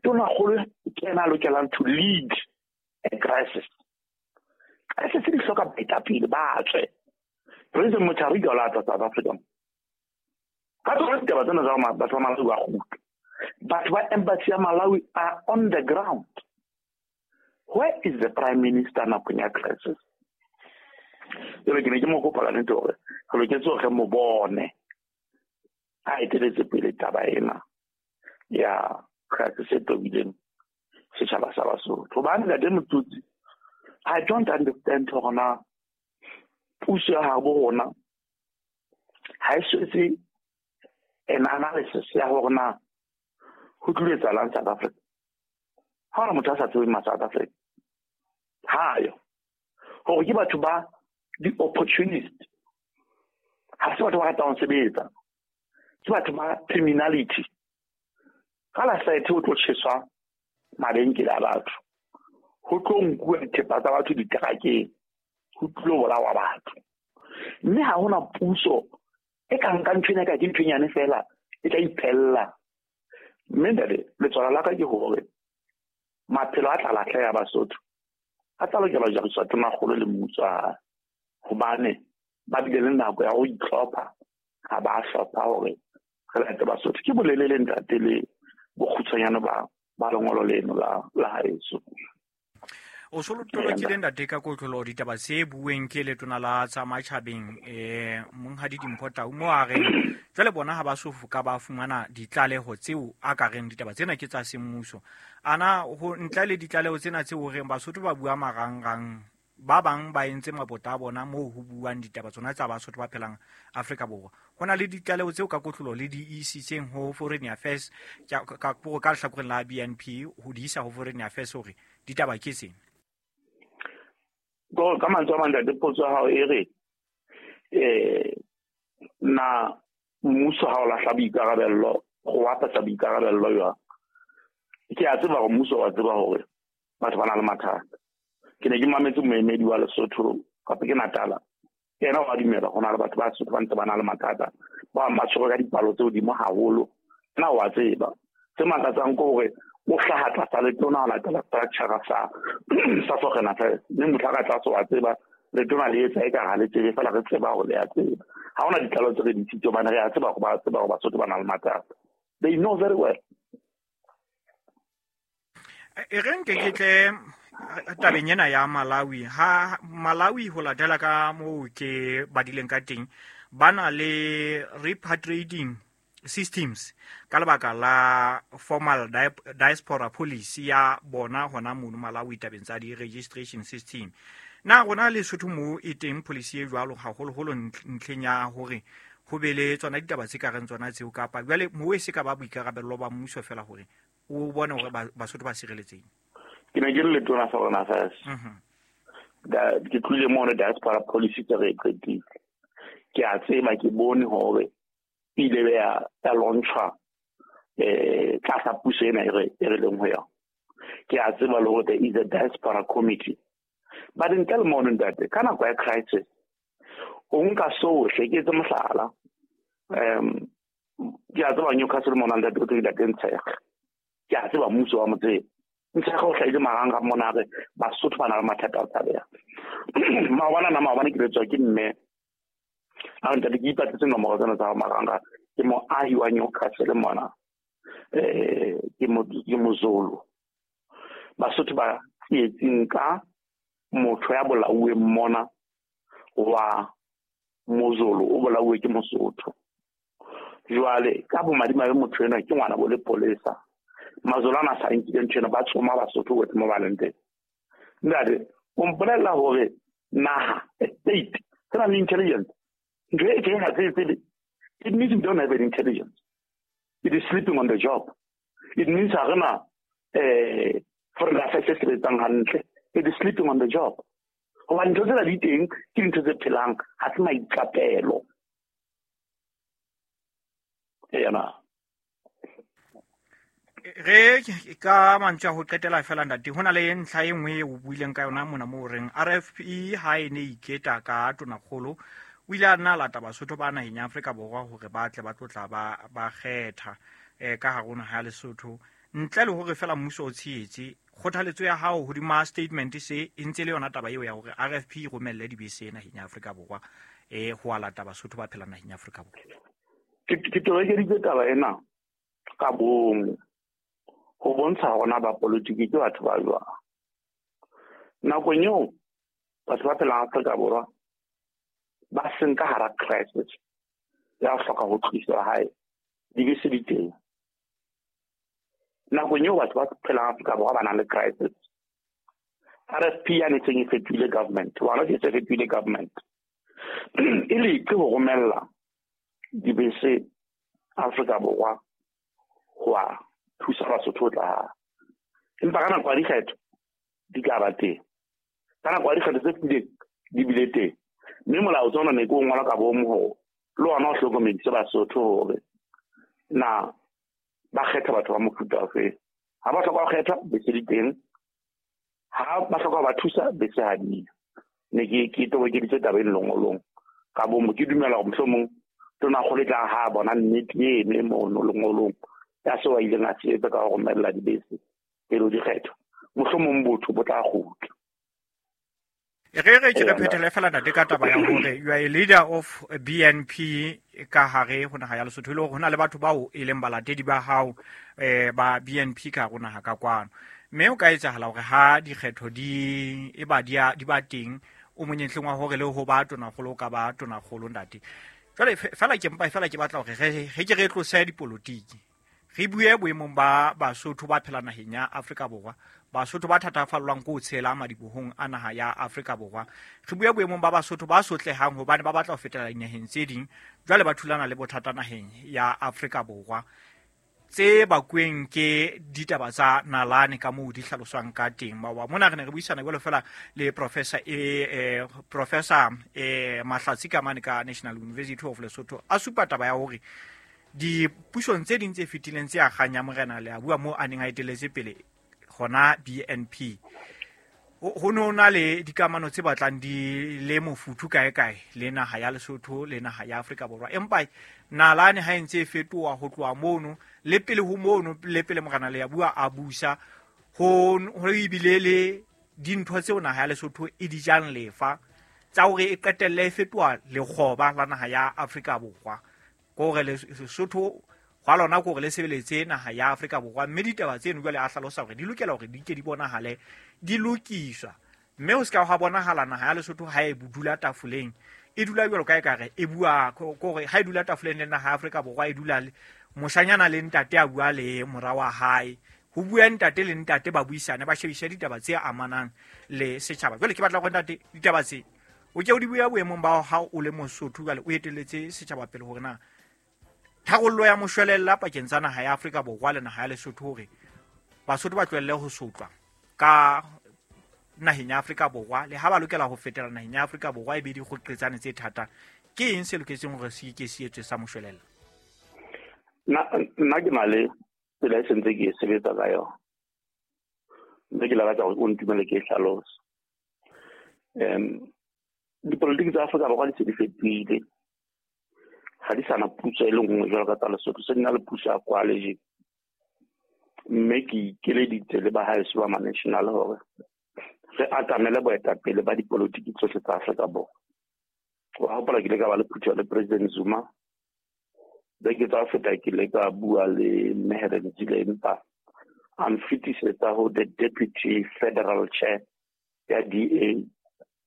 Tonakgolo ke ena a lokelang to lead a crisis. Crisis di hloka baetapele ba tswe. President Mutharika o la tla South Africa. Ka tsona ditaba tsena tsa batho ba Malawi ba kgutla. Batho ba embassy ya Malawi are on the ground. Where is the prime minister nakong ya crisis? Jwale ke ne ke mo kopa ka nnete hore re loketse hore re mo bone a eteletse pele taba ena ya crisis e tobileng setjhaba sa Basotho. Hobane ntate Motutsi, I don't understand hore na puso ya habo rona ha e so etse an analysis ya hore na ho tlilo etsahalang South Africa. Ha hona motho a sa tsebeng ma South Africa. Hayo. Hore ke batho ba di-opportunist. Ha se batho ba ratang ho sebetsa. Ke batho ba criminality. Ka la saethe ho tlo tjheswa mabenkele a batho. Ho tlo nkuwa dithepa tsa batho diterakeng. Ho tlo bolawa batho. Mme ha hona puso e ka nkang ntho ena ka ke ntho e nyane feela e tla iphella. Mme ntate, letswalo la ka ke hore maphelo a tla lahleha Basotho a tla lokela ho jariswa Tonakgolo le mmuso wa hae. Hobane ba bile le nako ya ho itlhopha, ha ba hlopha hore re late Basotho. Ke bolelele ntate le bokgutshwanyane ba ba lengolo leno la la haeso. O so tolokile ntate ka kotlolo ditaba tse bueng ke letona la tsa matjhabeng eh monghadi Dimpho Tau mo a reng jwale bona ha ba so ka ba fumana ditlaleho tseo a ka reng ditaba tsena ke tsa semmuso. Ana ho ntle le ditlaleho tsena tseo reng Basotho ba bua marangrang ba bang ba entse mabota a bona moo ho buang ditaba tsona tsa Basotho ba phelang Afrika Borwa. Ho na le ditlaleho tseo ka kotlolo le di isitseng ho Foreign Affairs ka ka ka lehlakoreng la B N P ho di isa ho Foreign Affairs hore ditaba ke tsena. Go ka mantswe a mang ntate, potso ya hao e re eh na mmuso ha o lahla boikarabello go apesa boikarabello jwang? Ke a tseba hore mmuso wa tseba hore batho ba na le mathata. Ke ne ke mametse moemedi wa Lesotho kapa ke Natala, yena wa dumela ho na le batho ba Sotho ba ntse ba na le mathata, ba bang ba tshwerwe ka dipalo tse hodimo haholo. Nna wa tseba se makatsang ke hore o hlaha tlasa letona ho latela structure sa sa Foreign Affairs, mme motho a ka tlase wa tseba letona le etsa eka ha le tsebe, fela re tseba hore le a tseba. Ha hona ditlalo tse re di isitseng hobane re a tseba hore ba tseba hore Basotho ba na le mathata. They know very well. E re nke ke tle tabeng ena ya Malawi. Ha Malawi ho latela ka moo ke badileng ka teng, ba na le repatriating systems ka lebaka la formal diaspora policy ya bona hona mono Malawi tabeng tsa di-registration system. Na rona Lesotho moo e teng policy e jwalo haholoholo ntlheng ya hore ho be le tsona ditaba tse ka reng tsona tseo, kapa jwale moo e se ka ba boikarabello ba mmuso fela hore o bone hore Basotho ba sireletseng? Ke ne ke le letona Foreign Affairs. Ke tlohile mono diaspora policy tse re e qetile. Ke a tseba, ke bone hore Ile ya ya launchwa eh tlasa puso ena e re e re leng ho yona. Ke a tseba le hore there is a diaspora committee. But ntle le mono ntate, ka nako ya crisis o nka sohle, ke etse mohlala. Um ke a tseba Newcastle mona ntate o tlile teng Ntshege. Ke a tseba mmuso wa motse. Ntshege o hlahile marangrang mona re Basotho ba na le mathata a tshabeha. Maobane na maobane ke letswa ke mme a ntate ke ipatletse nomoro tsena tsa marangrang. Ke moahi wa Newcastle mona. Eh ke mo ke Mozulu. Basotho ba tsietsing ka motho ya bolauweng mona wa Mozulu o bolauwe ke Mosotho. Jwale ka bomadimabe motho enwa ke ngwana bo lepolesa. Mazulu ana sa nkile ntho ena, ba tsoma Basotho bohle mo ba leng teng. Ntate, o mpolella hore naha, state, se na le intelligence. Ntho e teng ha se tsebe. It means we don't have an intelligence. It is sleeping on the job. It means ha re na eh foreign affairs se sebetsang hantle. It is sleeping on the job. Hobane ntho tsena di teng ke dintho tse phelang, ha se maiqapelo. Ena. Re ka mantswe a ho qetela fela ntate, ho na le ntlha e nngwe e o buileng ka yona mona moo reng R F P ha e ne iketa ka tonakgolo o ile a nna lata Basotho ba naheng ya Afrika Borwa hore ba tle ba tlotla ba ba kgetha eh ka hare ho naha ya Lesotho ntle le hore fela mmuso o tshehetse. Kgothaletso ya hao hodima statement se e ntse le yona taba eo ya hore R F P e romelle dibese naheng ya Afrika Borwa eh ho a lata Basotho ba phelang naheng ya Afrika Borwa. Ke ke tobekeditse taba ena ka bomo ho bontsha hore na ba politiki ke batho ba jwang. Nakong eo batho ba phelang Afrika Borwa ba seng ka hara crisis ya ho hloka ho tliswa hae, dibese di teng. Nakong eo batho ba phelang Afrika Borwa ba nang le crisis, R F P ya ne seng e fetohile government, wa ke se fetohile government e leke ho romella dibese Afrika Borwa ho a thusa Basotho ho tla hae. Empa ka nako ya dikgetho di ka ba teng, ka nako ya dikgetho tse fetileng di bile teng. Mme molao tsona ne ke o ngola ka bomo hore le ona o hlokomedise Basotho hore na ba kgetha batho ba mofuta ofe. Ha ba hloka ho kgetha, bese di teng. Ha ba hloka ho ba thusa, bese ha di yo. Ne ke ke tobokeditse taba e lengolong ka bomo. Ke dumela hore mohlomong tonakgolo e tla ha bona nnete eno e mono lengolong ya seo a ileng a se etsa ka ho romella dibese pele ho dikgetho. Mohlomong botho bo tla kgutla. Re re ke re phethele fela ntate ka taba ya hore you are a leader of B N P ka hare ho naha ya Lesotho, e le hore ho na le batho bao e leng balatedi ba hao eh ba B N P ka hare ho naha ka kwano. Mme o ka etsahala hore ha dikgetho di e ba di di ba teng o monyetleng wa hore le ho ba tonakgolo o ka ba tonakgolo ntate. Jwale fela ke mpa fela ke batla hore re re ke re tlose dipolotiki. Re bue boemong ba Basotho ba phela naheng ya Afrika Borwa, Basotho ba thatafallwang ke ho tshela madibohong a naha ya Afrika Borwa. Re bue boemong ba Basotho ba sotlehang hobane ba batla ho fetela dinaheng tse ding, jwale ba thulana le bothata naheng ya Afrika Borwa tse bakweng ke ditaba tsa nalane ka moo di hlaloswang ka teng. Maoba mona re ne re buisana jwalo fela le Professor e eh, Professor eh, Mahlatsi ka mane ka National University of Lesotho a supa taba ya hore dipusong tse ding tse fetileng tse akgang ya morena le a bua moo a neng a eteletse pele hona B N P, ho no na le dikamano tse batlang di le mofuthu kae kae le naha ya Lesotho le naha ya Afrika Borwa. Empa nalane ha e ntse e fetoha ho tloha mono le pele ho mono le pele morena le a bua a busa ho ho ebile le dintho tseo naha ya Lesotho e di jang lefa tsa hore e qetelle e fetoha lekgoba la naha ya Afrika Borwa. Kore Lesotho hwa lona kore le sebeletse naha ya Afrika Borwa, mme ditaba tseno jwale a hlalosa hore di lokela hore di ke di bonahale di lokiswa, mme ho ska hwa bonahala naha ya Lesotho ha e dula tafoleng e dula jwalo ka ekare e bua kore ha e dula tafoleng le naha ya Afrika Borwa e dula le moshanyana le ntate a bua le mora wa hae, ho bua ntate le ntate ba buisane ba shebishe ditaba tse amanang le setjhaba. Jwale ke batla hore ntate ditaba tse o ke o di bua boemong ba ha o le Mosotho jwale o etelletse setjhaba pele hore na tharollo ya moshwelella pakeng tsa naha ya Afrika Borwa le naha ya Lesotho hore Basotho ba tlohelle ho sotlwa ka naheng ya Afrika Borwa le ha ba lokela ho fetela naheng ya Afrika Borwa e be dikgoqetsane tse thata, ke eng se loketseng hore se ke se etswe sa moshwelella? Nna ke na le tsela e sentse ke e sebetsa ka yona. Mme ke lakatsa hore o ntumelle ke e hlalose. Um dipolotiki tsa Afrika Borwa di se di fetohile. Ha di sana puso e le nngwe jwalo ka tsa Lesotho, se di na le puso ya koaleje. Mme ke ikeleditse le bahaeso ba ma-national hore re atamele boetapele ba dipolotiki tsohle tsa Afrika Borwa. Wa hopola ke ile ka ba le phutheho le President Zuma. Beke tsa ho feta ke ile ka bua le Mme Helen Zille, empa a nfetisetsa ho the deputy federal chair ya D A.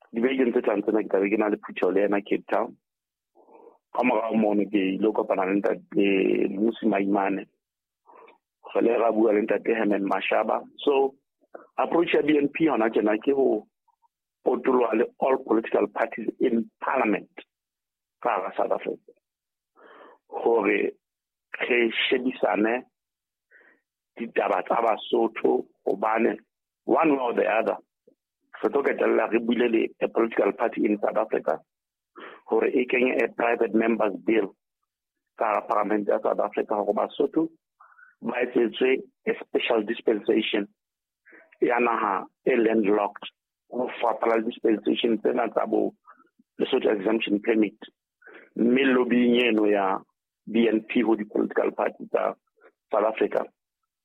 Dibekeng tse tlang tsena ke tla be ke na le phutheho le yena Cape Town. Ka morao mono ke ile kopana le ntate Mmusi Maimane. Re le ra bua le ntate Herman Mashaba. So approach ya B N P hona tjena ke ho potoloha le all political parties in parliament ka hara South Africa. Hore re shebisane ditaba tsa Basotho, hobane one way or the other re tlo qetella re buile le a political party in South Africa hore e kenye a private members bill ka hara parliament ya South Africa hore Basotho ba etsetswe a special dispensation ya naha e landlocked, ho fapana le dispensation tsena tsa bo Lesotho exemption permit. Mme lobbying eno ya B N P ho di-political party tsa South Africa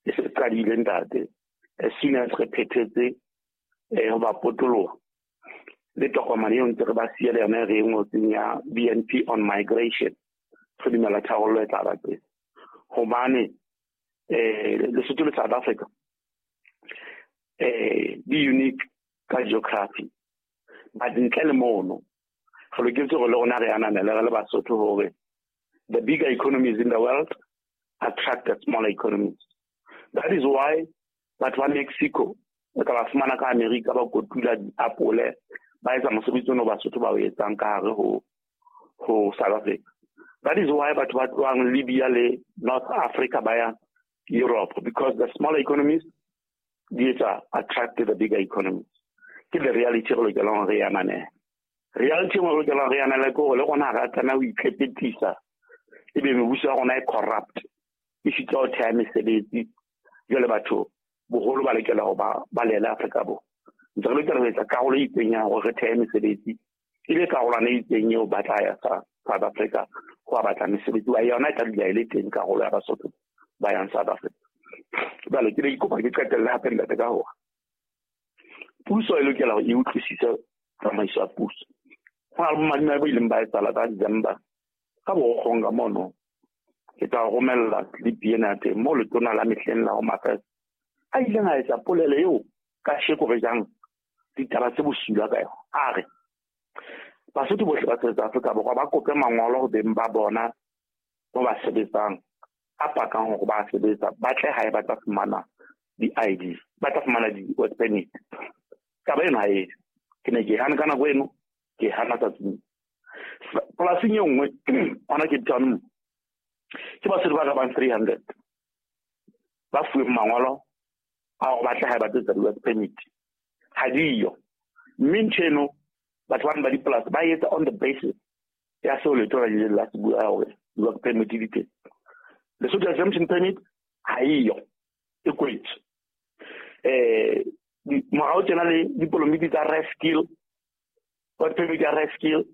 e se qadile ntate. As soon as re phethetse eh ho ba potoloha le tokomane eo ntse re ba siele yona re e ngotseng ya B N P on migration, re dumela tharollo e tla ba teng. Hobane eh Lesotho le South Africa eh di unique ka geography, but ntle le mono re loketse hore le rona re ananele re le Basotho hore the bigger economies in the world attract the smaller economies. That is why batho ba Mexico o tla ba fumana ka America ba kotula diapole, ba etsa mosebetsi ono Basotho ba o etsang ka hare ho ho South Africa. That is why batho ba tlohang Libya le North Africa ba ya Europe, because the smaller economies di etsa attract the bigger economies. Ke the reality re lokelang re ananele. Reality re lokelang re ananele ke hore le rona ha re tlameha ho itlhephetisa ebe mebuso ya rona e corrupt, e sitwa ho theha mesebetsi. Jwale batho boholo ba lokela ho ba balele Afrika Borwa. Ntse re lokela ho etsa karolo e itseng ya hore re thehe mesebetsi, ebe karolwana e itseng eo ba tla ya South Africa ho batla mesebetsi wa yona e tla dula e le teng karolo ya Basotho ba yang South Africa. Jwale ke ne ke kopa ke qetelle hape ntate ka hore puso e lokela hore e utlwisise tsamaiso ya puso. Ho na le bomadimabe bo ileng ba etsahala ka December ka Borokgong ka mono. Ke tla romella clip ena ya teng moo letona la mehleng la Home Affairs a ileng a etsa polelo eo kasheko re jang ditaba tse bosula ka yona. A re Basotho bohle ba sebetsa Afrika Borwa ba kope mangolo ho beng ba bona mo ba sebetsang a pakang hore ba sebetsa, ba tle hae ba tla fumana di-I D, ba tla fumana di-work permit. Taba eno ha e ke ne ke hana ka nako eno, ke hana tsatsing. Polasing e nngwe hona Cape Town ke Basotho ba ka bang three hundred ba fuweng mangolo a hore ba tle hae ba tlo etsa di-work permit. Ha diyo. Mme ntho eno batho bana ba dipolasi ba etsa on the basis ya seo letona le ileng la se bua hore di-work permit di teng. Lesotho exemption permit ha eyo, e kwetswe. Eh morao tjena le dipolomiti tsa rare skill, work permit ya rare skill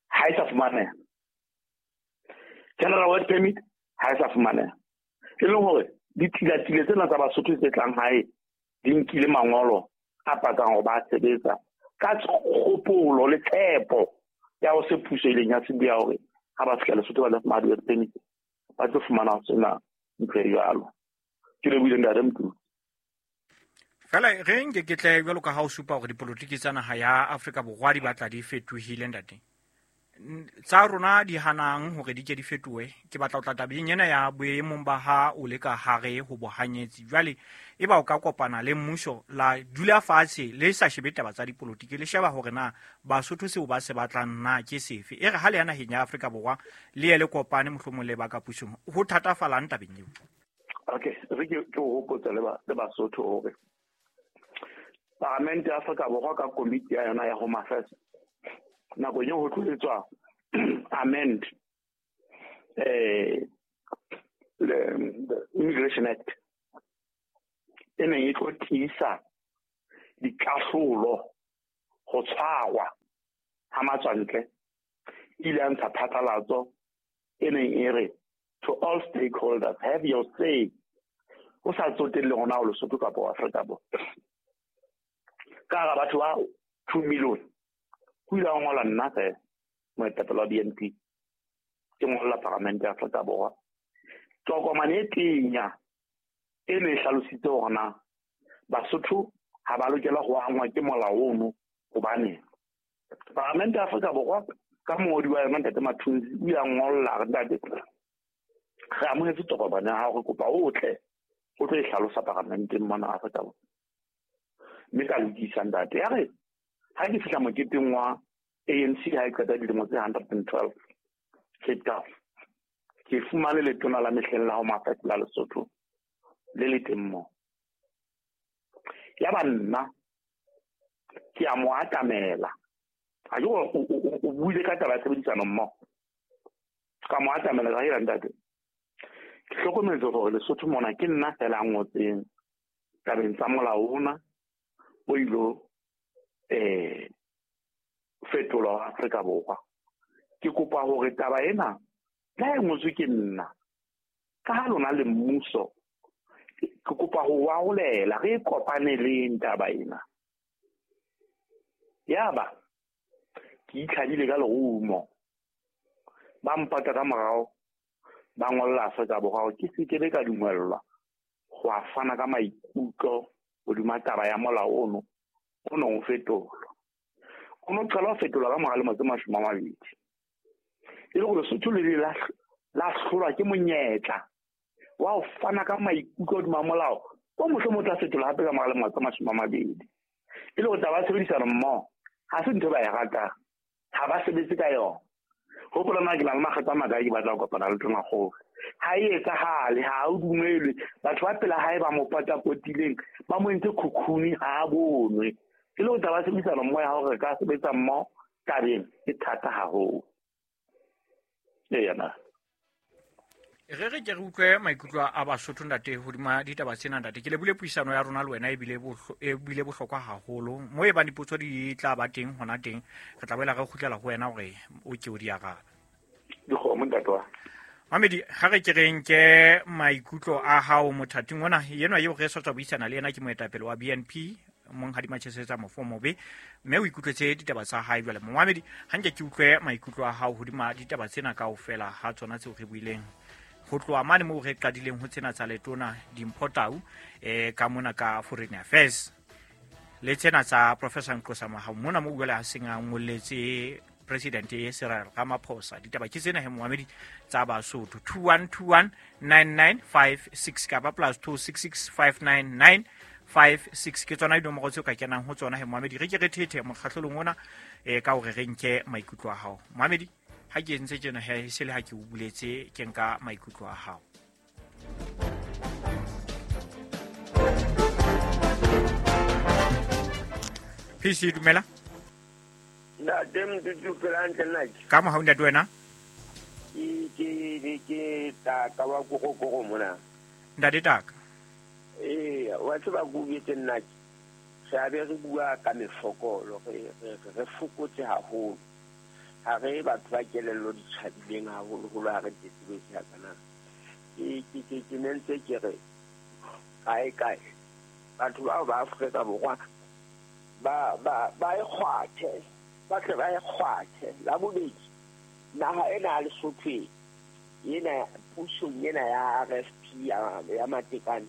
ha e sa fumaneha. General work permit ha e sa fumaneha. E leng hore dithilatile tsena tsa Basotho tse tlang hae di nkile mangolo a pakang hore ba sebetsa ka kgopolo le tshepo ya ho se puso e ileng ya se bua hore ha ba fihla Lesotho ba tla fumana di-work permit, ba tlo fumana ho sena ntho e jwalo. Ke lebohile ntate Mtutu. Fela re nke ke tle jwalo ka ha o supa hore dipolotiki tsa naha ya Afrika Borwa di batla di fetohile ntate. Tsa rona di hanang hore di ke di fetohe. Ke batla ho tla tabeng ena ya boemong ba ha o le ka hare ho bohanyetsi. Jwale e ba o ka kopana le mmuso la dula fatshe le sa shebe taba tsa dipolotiki, le sheba hore na Basotho seo ba se batlang na ke sefe. E re ha le ya naheng ya Afrika Borwa le ye le kopane mohlomong le ba ka pusong, ho thatafalang tabeng eo? Okay, re ke ke ho hopotsa le ba le Basotho hore Paramente ya Afrika Borwa ka komiti ya yona ya Home Affairs nako eo ho tlo etswa amend eh the, the Immigration Act e neng e tlo tiisa dikahlolo ho tshwarwa ha matswantle, ile ya ntsha phatlalatso e neng e re to all stakeholders, have your say, o sa tsotelle hore na o Lesotho kapa o Afrika Borwa. Ka hara batho ba two million ho ile ha ngola nna feela moetapele wa B N P, ke ngolla Palamente ya Afrika Borwa. Tokomane e tenya e ne e hlalositse hore na Basotho ha ba lokela ho angwa ke molao ono, hobane Palamente ya Afrika Borwa ka mongodi wa yona Ntate Mathunzi o ile a ngolla re ntate re amohetse tokomane ya hao, re kopa o tle o tlo e hlalosa Palamenteng mona Afrika Borwa. Mme ka lokisa ntate. Ya re ha ke fihla moketeng wa A N C ha e qeta dilemo tse hundred and twelve Cape Town, ke fumane letona la mehleng la ho Mafetlha la Lesotho le le teng moo. Ya ba nna ke a mo atamela, a ke o buile ka taba ya tshebedisano mmoho, ka mo atamela ka hela ntate, ke hlokometse hore Lesotho mona ke nna fela a ngotseng tabeng tsa molao ona o ilo eh fetolwa wa Afrika Borwa. Ke kopa hore taba ena la e ngotswe ke nna, ka ha lona le mmuso, ke kopa ho warolela re kopaneleng taba ena. Yaba ke itlhadile ka lerumo, ba mpata ka morao, ba ngolla Afrika Borwa hore ke se ke be ka dumellwa ho a fana ka maikutlo hodima taba ya molao ono o nong o fetolwa. O no qala ho fetolwa ka mora lemo tse mashome a mabedi, e le hore Lesotho le le la hlolwa ke monyetla wa ho fana ka maikutlo hodima molao o mohlomong o tla fetolwa hape ka mora lemo tse mashome a mabedi. E le hore taba ya tshebedisano mmoho ha se ntho ba e ratang, ha ba sebetse ka yona. Hopola nna ke na le makgetlo a makae ke batla ho kopana le Tonakgolo, ha e etsahale, ha o dumelwe. Batho ba pela hae ba mo patapotileng ba mo entse khukhuni, ha a bonwe. E le hore taba ya tshebedisano mmoho ya hore re ka sebetsa mmoho tabeng e thata haholo. Eya na re re ke re utlwe maikutlo a Basotho ntate hodima ditaba tsena ntate. Ke lebule puisano ya rona le wena ebile ebile bohlokwa haholo. Mo e bang dipotso di tla ba teng hona teng, re tla boela re kgutlela ho wena hore o ke o di arabe. Dikgomo ntate wa Mamedi, ha re ke re nke maikutlo a hao mothating ona enwa eo re sa tswa buisana le yena, ke moetapele wa B N P Monghadi Machesetsa Mofomobe, mme o ikutlwetse ditaba tsa hae jwale. Momamedi, ha nke ke utlwe maikutlo a hao hodima ditaba tsena kaofela ha tsona tseo re buileng ho tloha mane moo re qadileng ho tsena tsa letona Dimpho Tau eh ka mona ka Foreign Affairs le tsena tsa Professor Nqosa Mahao mona mo jwale ha seng a ngolletse President Cyril Ramaphosa. Ditaba ke tsena he momamedi tsa Basotho two one two one nine nine five six kapa plus two six six five nine nine five six ke tsona dinomoro tseo ka kenang ho tsona he momamedi. Re ke re thethe mokgahlelong ona eh ka hore re nke maikutlo a hao momamedi. Ha ke entse tjena he se le ha ke o buletse ke nka maikutlo a hao. P C dumela. Ntate Mdudu phela hantle nna ke. Ka mohau ntate wena? Ke ke ke taka wa kgokgokgo mona. Ntate taka. Eh, wa tseba go betse nna ke. Re a be re bua ka mefokolo, re re re fokotse haholo. Ha re batho ba kelello di tjhabileng haholoholo ha re tletlebetse ha kana. Ke ke ke ke ne ntse ke re kae kae batho bao ba Afrika Borwa ba ba ba e kgwathe, ba tle ba e kgwathe. La bobedi, naha ena ya Lesotho ena pusong ena ya R F P ya ya Matekane,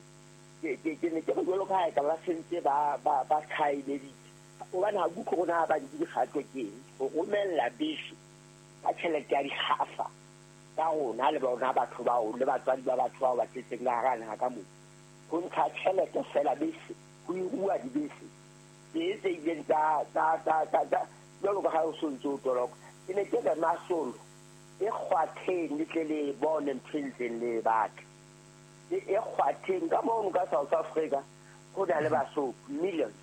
ke ke ke ne ke re jwalo ka ha e ka ba sentse ba ba ba thaeleditse. Hobane ha ke utlwe hore na ba nke dikgato ke eng ho romella bese ka tjhelete ya dikgafa tsa rona le bona batho bao le batswadi ba batho bao ba tletseng ka hara naha ka moo, ho ntsha tjhelete fela bese, ho irua dibese tse tse ileng tsa tsa tsa tsa jwalo ka ha o so ntse o toloka. Ke ne ke re masolo e kgwatheng le tle le bone ntho e ntseng le e batla, e kgwatheng ka mono ka South Africa ho na le Basotho millions,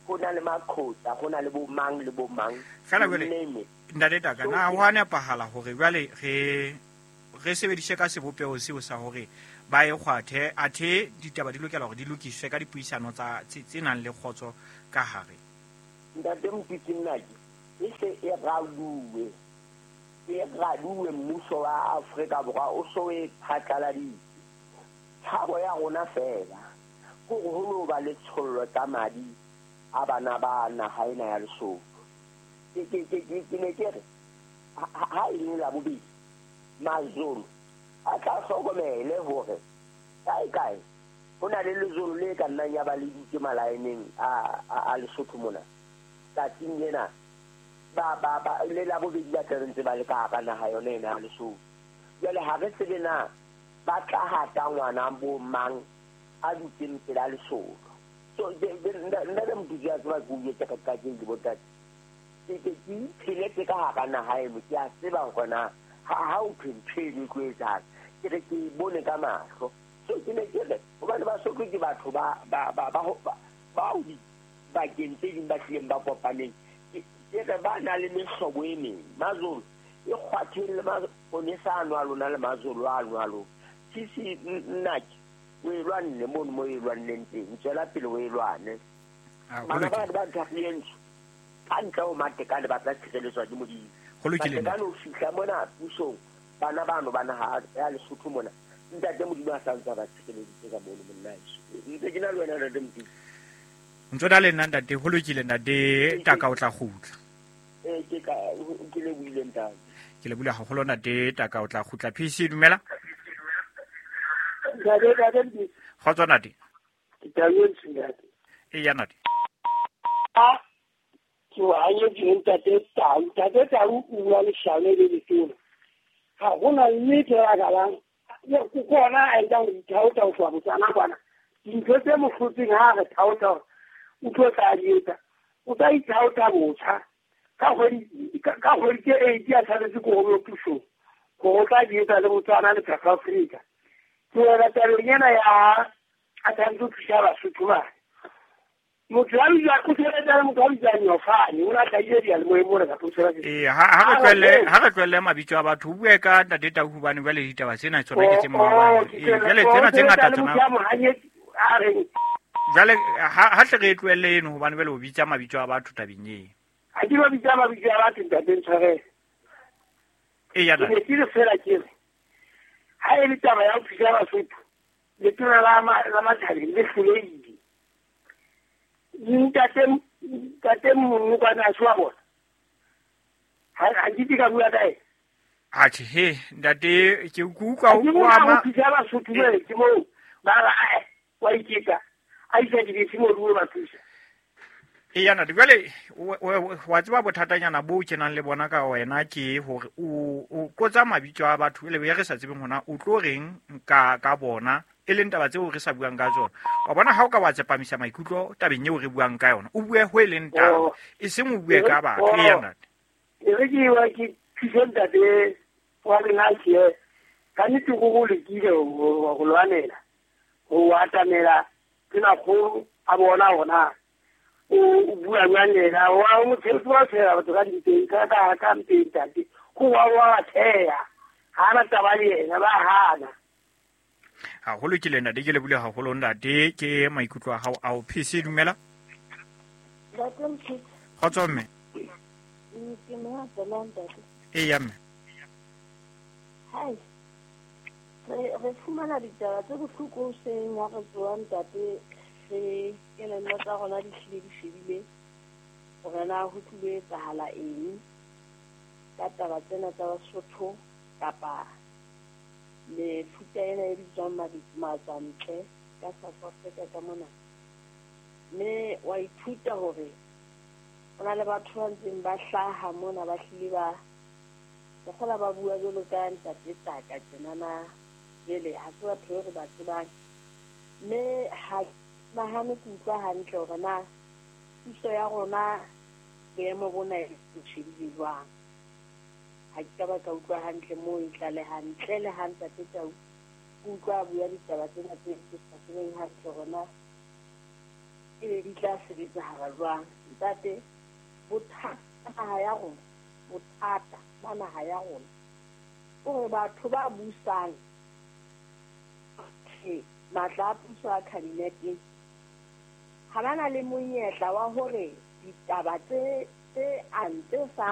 ho na le Makhotsa, ho na le bo mang le bo mang. Fela jwale ntate Taka, na ho a nepahala hore jwale re re sebedise ka sebopeho seo sa hore ba e kgwathe athe ditaba di lokela hore di lokiswe ka dipuisano tsa tse nang le kgotso ka hare. Ntate Mopitsi nnake e se e raluwe e raluwe mmuso wa Afrika Borwa o so e phatlaladitse. Tshabo ya rona fela hore ho lo ba le tshollo tsa madi a bana ba naha ena ya Lesotho. Ke ke ke ke ne ke re ha e le la bobedi Mazulu a tla hlokomele hore kae kae ho na le lezolo le ka nnang ya ba le ditse malaeneng a a Lesotho mona tsatsing lena ba ba ba le la bobedi ba tla ntse ba le ka hara naha yona ena ya Lesotho. Jwale ha re tsebe na ba tla hata ngwana bo mang a dutseng pela Lesotho. So nna le motho ya tseba ke o etsa ka ka ke botate ke ke ke pheletse ka hara naha eno ke a tseba hore na ha o phentshele tlo etsang ke re ke bone ka mahlo. So ke ne ke re hobane Basotho ke batho ba ba ba ba ba o dibakeng tse ding ba tlileng ba kopaneng ke re ba na le mehlobo e meng. Mazulu e kgwatheng le maponesa ano a lona le Mazulu a ano a lona sisi nnake o e lwanne mono mo e lwanneng teng tswela pele o e lwane. Bana ba ba nthahleng ka ntle ho Matekane ba tla tshireletswa ke Modimo. Matekane o fihla mona pusong bana bano ba naha ya Lesotho mona ntate Modimo a sa ntse ba tshireleditse ka mono monna heso. Ntse ke na le wena ntate Modimo. Ntse na le nna ntate ho lokile ntate Taka o tla kgutla. Eh ke ka ke le buile ntate. Ke le bula haholo ntate Taka o tla kgutla. P C dumela. Ntate ntate. Kgotso ntate. Ke thabetse ntate. E ya ntate. Ah ke wa hanyetse ntate Tau, ntate Tau o bua leshano le letona. Ha hona nnete ya kalang. Ke kona a etsang ho ithaota ho tloha Botswana kwana. Dintho tse mo hlotseng ha re thaota o tlo tla di etsa. O tla ithaota botjha. Ka kgwedi ka kgwedi tse eight a tshwanetse ko ho pusong. Hore o tla di etsa le Botswana le South Africa. Ke wela tabeng ena ya a tshwanetse ho thusa Basotho bana. Motho a bitswa o sebetsa le motho a bitswang Nyofane o na hlahile diyalemoyeng mona kapa o tshwara ke Eh ha ha re tlohelle ha re tlohelle mabitso a batho o bue ka ntate Tau hobane jwale ditaba tsena tsona ke tse maobane. Eh jwale tsena tse ngata tsona jwale ha ha hle re tlohelle eno hobane jwale o bitsa mabitso a batho tabeng eo. Ha ke ba bitsa mabitso a batho ntate ntshwarele. Eh ya ntate. Ke ne fela ke re ha e le taba ya ho thusa Basotho letona la la Mathabeng le hlolehile. Ntate ntate Monokwane a se wa bona. Ha ha ke ka bua kae? Atjhe he ntate ke utlwa o ama thusa Basotho jwale ke moo ba ra wa iketsa a isa dibese mo ruo ba thusa. E ya ntate jwale wa tseba bothatanyana bo kenang le bona ka wena ke hore o o kotsa mabitso a batho le be re sa tsebeng hona o tlo reng ka ka bona e leng taba tseo re sa buang ka tsona. Wa bona ha o ka wa tsepamisa maikutlo tabeng eo re buang ka yona o bue ho e leng taba e seng o bue ka batho. E ya ntate. E re ke wa ke thuse ntate wa lena ke ka nnete go go lekile go lwanela ho atamela ke na kgolo a bona hona o bua jwang le yena wa motho wa tshela batho ka dinteng ka ka ka mpeng ntate go wa wa theya ha ba taba le yena ba hana. Haholo ke lena ke le bule haholo ntate ke maikutlo a hao ao. P C dumela. Ntate Mphitsi. Kgotso mme. Ke mo tsela ntate. E ya mme. Hai. Re re fumana ditaba tse bohloko hoseng ha re tsoha ntate re kelello tsa rona di hlile di shebile hore na ho tlilo etsahala eng ka taba tsena tsa Basotho kapa mefuta ena e bitswang matswantle ka South Africa ka mona. Mme wa ithuta hore ho na le batho ba ntseng ba hlaha mona ba hlile ba ke kgola ba bua jwalo ka ntate Taka tjenana jwale ha se batho be re ba tsebang. Mme ha nahane ke utlwa hantle hore na puso ya rona boemo bona e shebile jwang. Ha ke ka ba ka utlwa hantle moo e tlaleha ntle le ha ntate Tau ke utlwa a bua ditaba tsena tse ke sa tsebeng hantle hore na ebe di tla sebetsahala jwang. Ntate bothata naha ya rona bothata ba naha ya rona O re batho ba busang matla a puso a kabineteng ha ba na le monyetla wa hore ditaba tse tse ang tse sa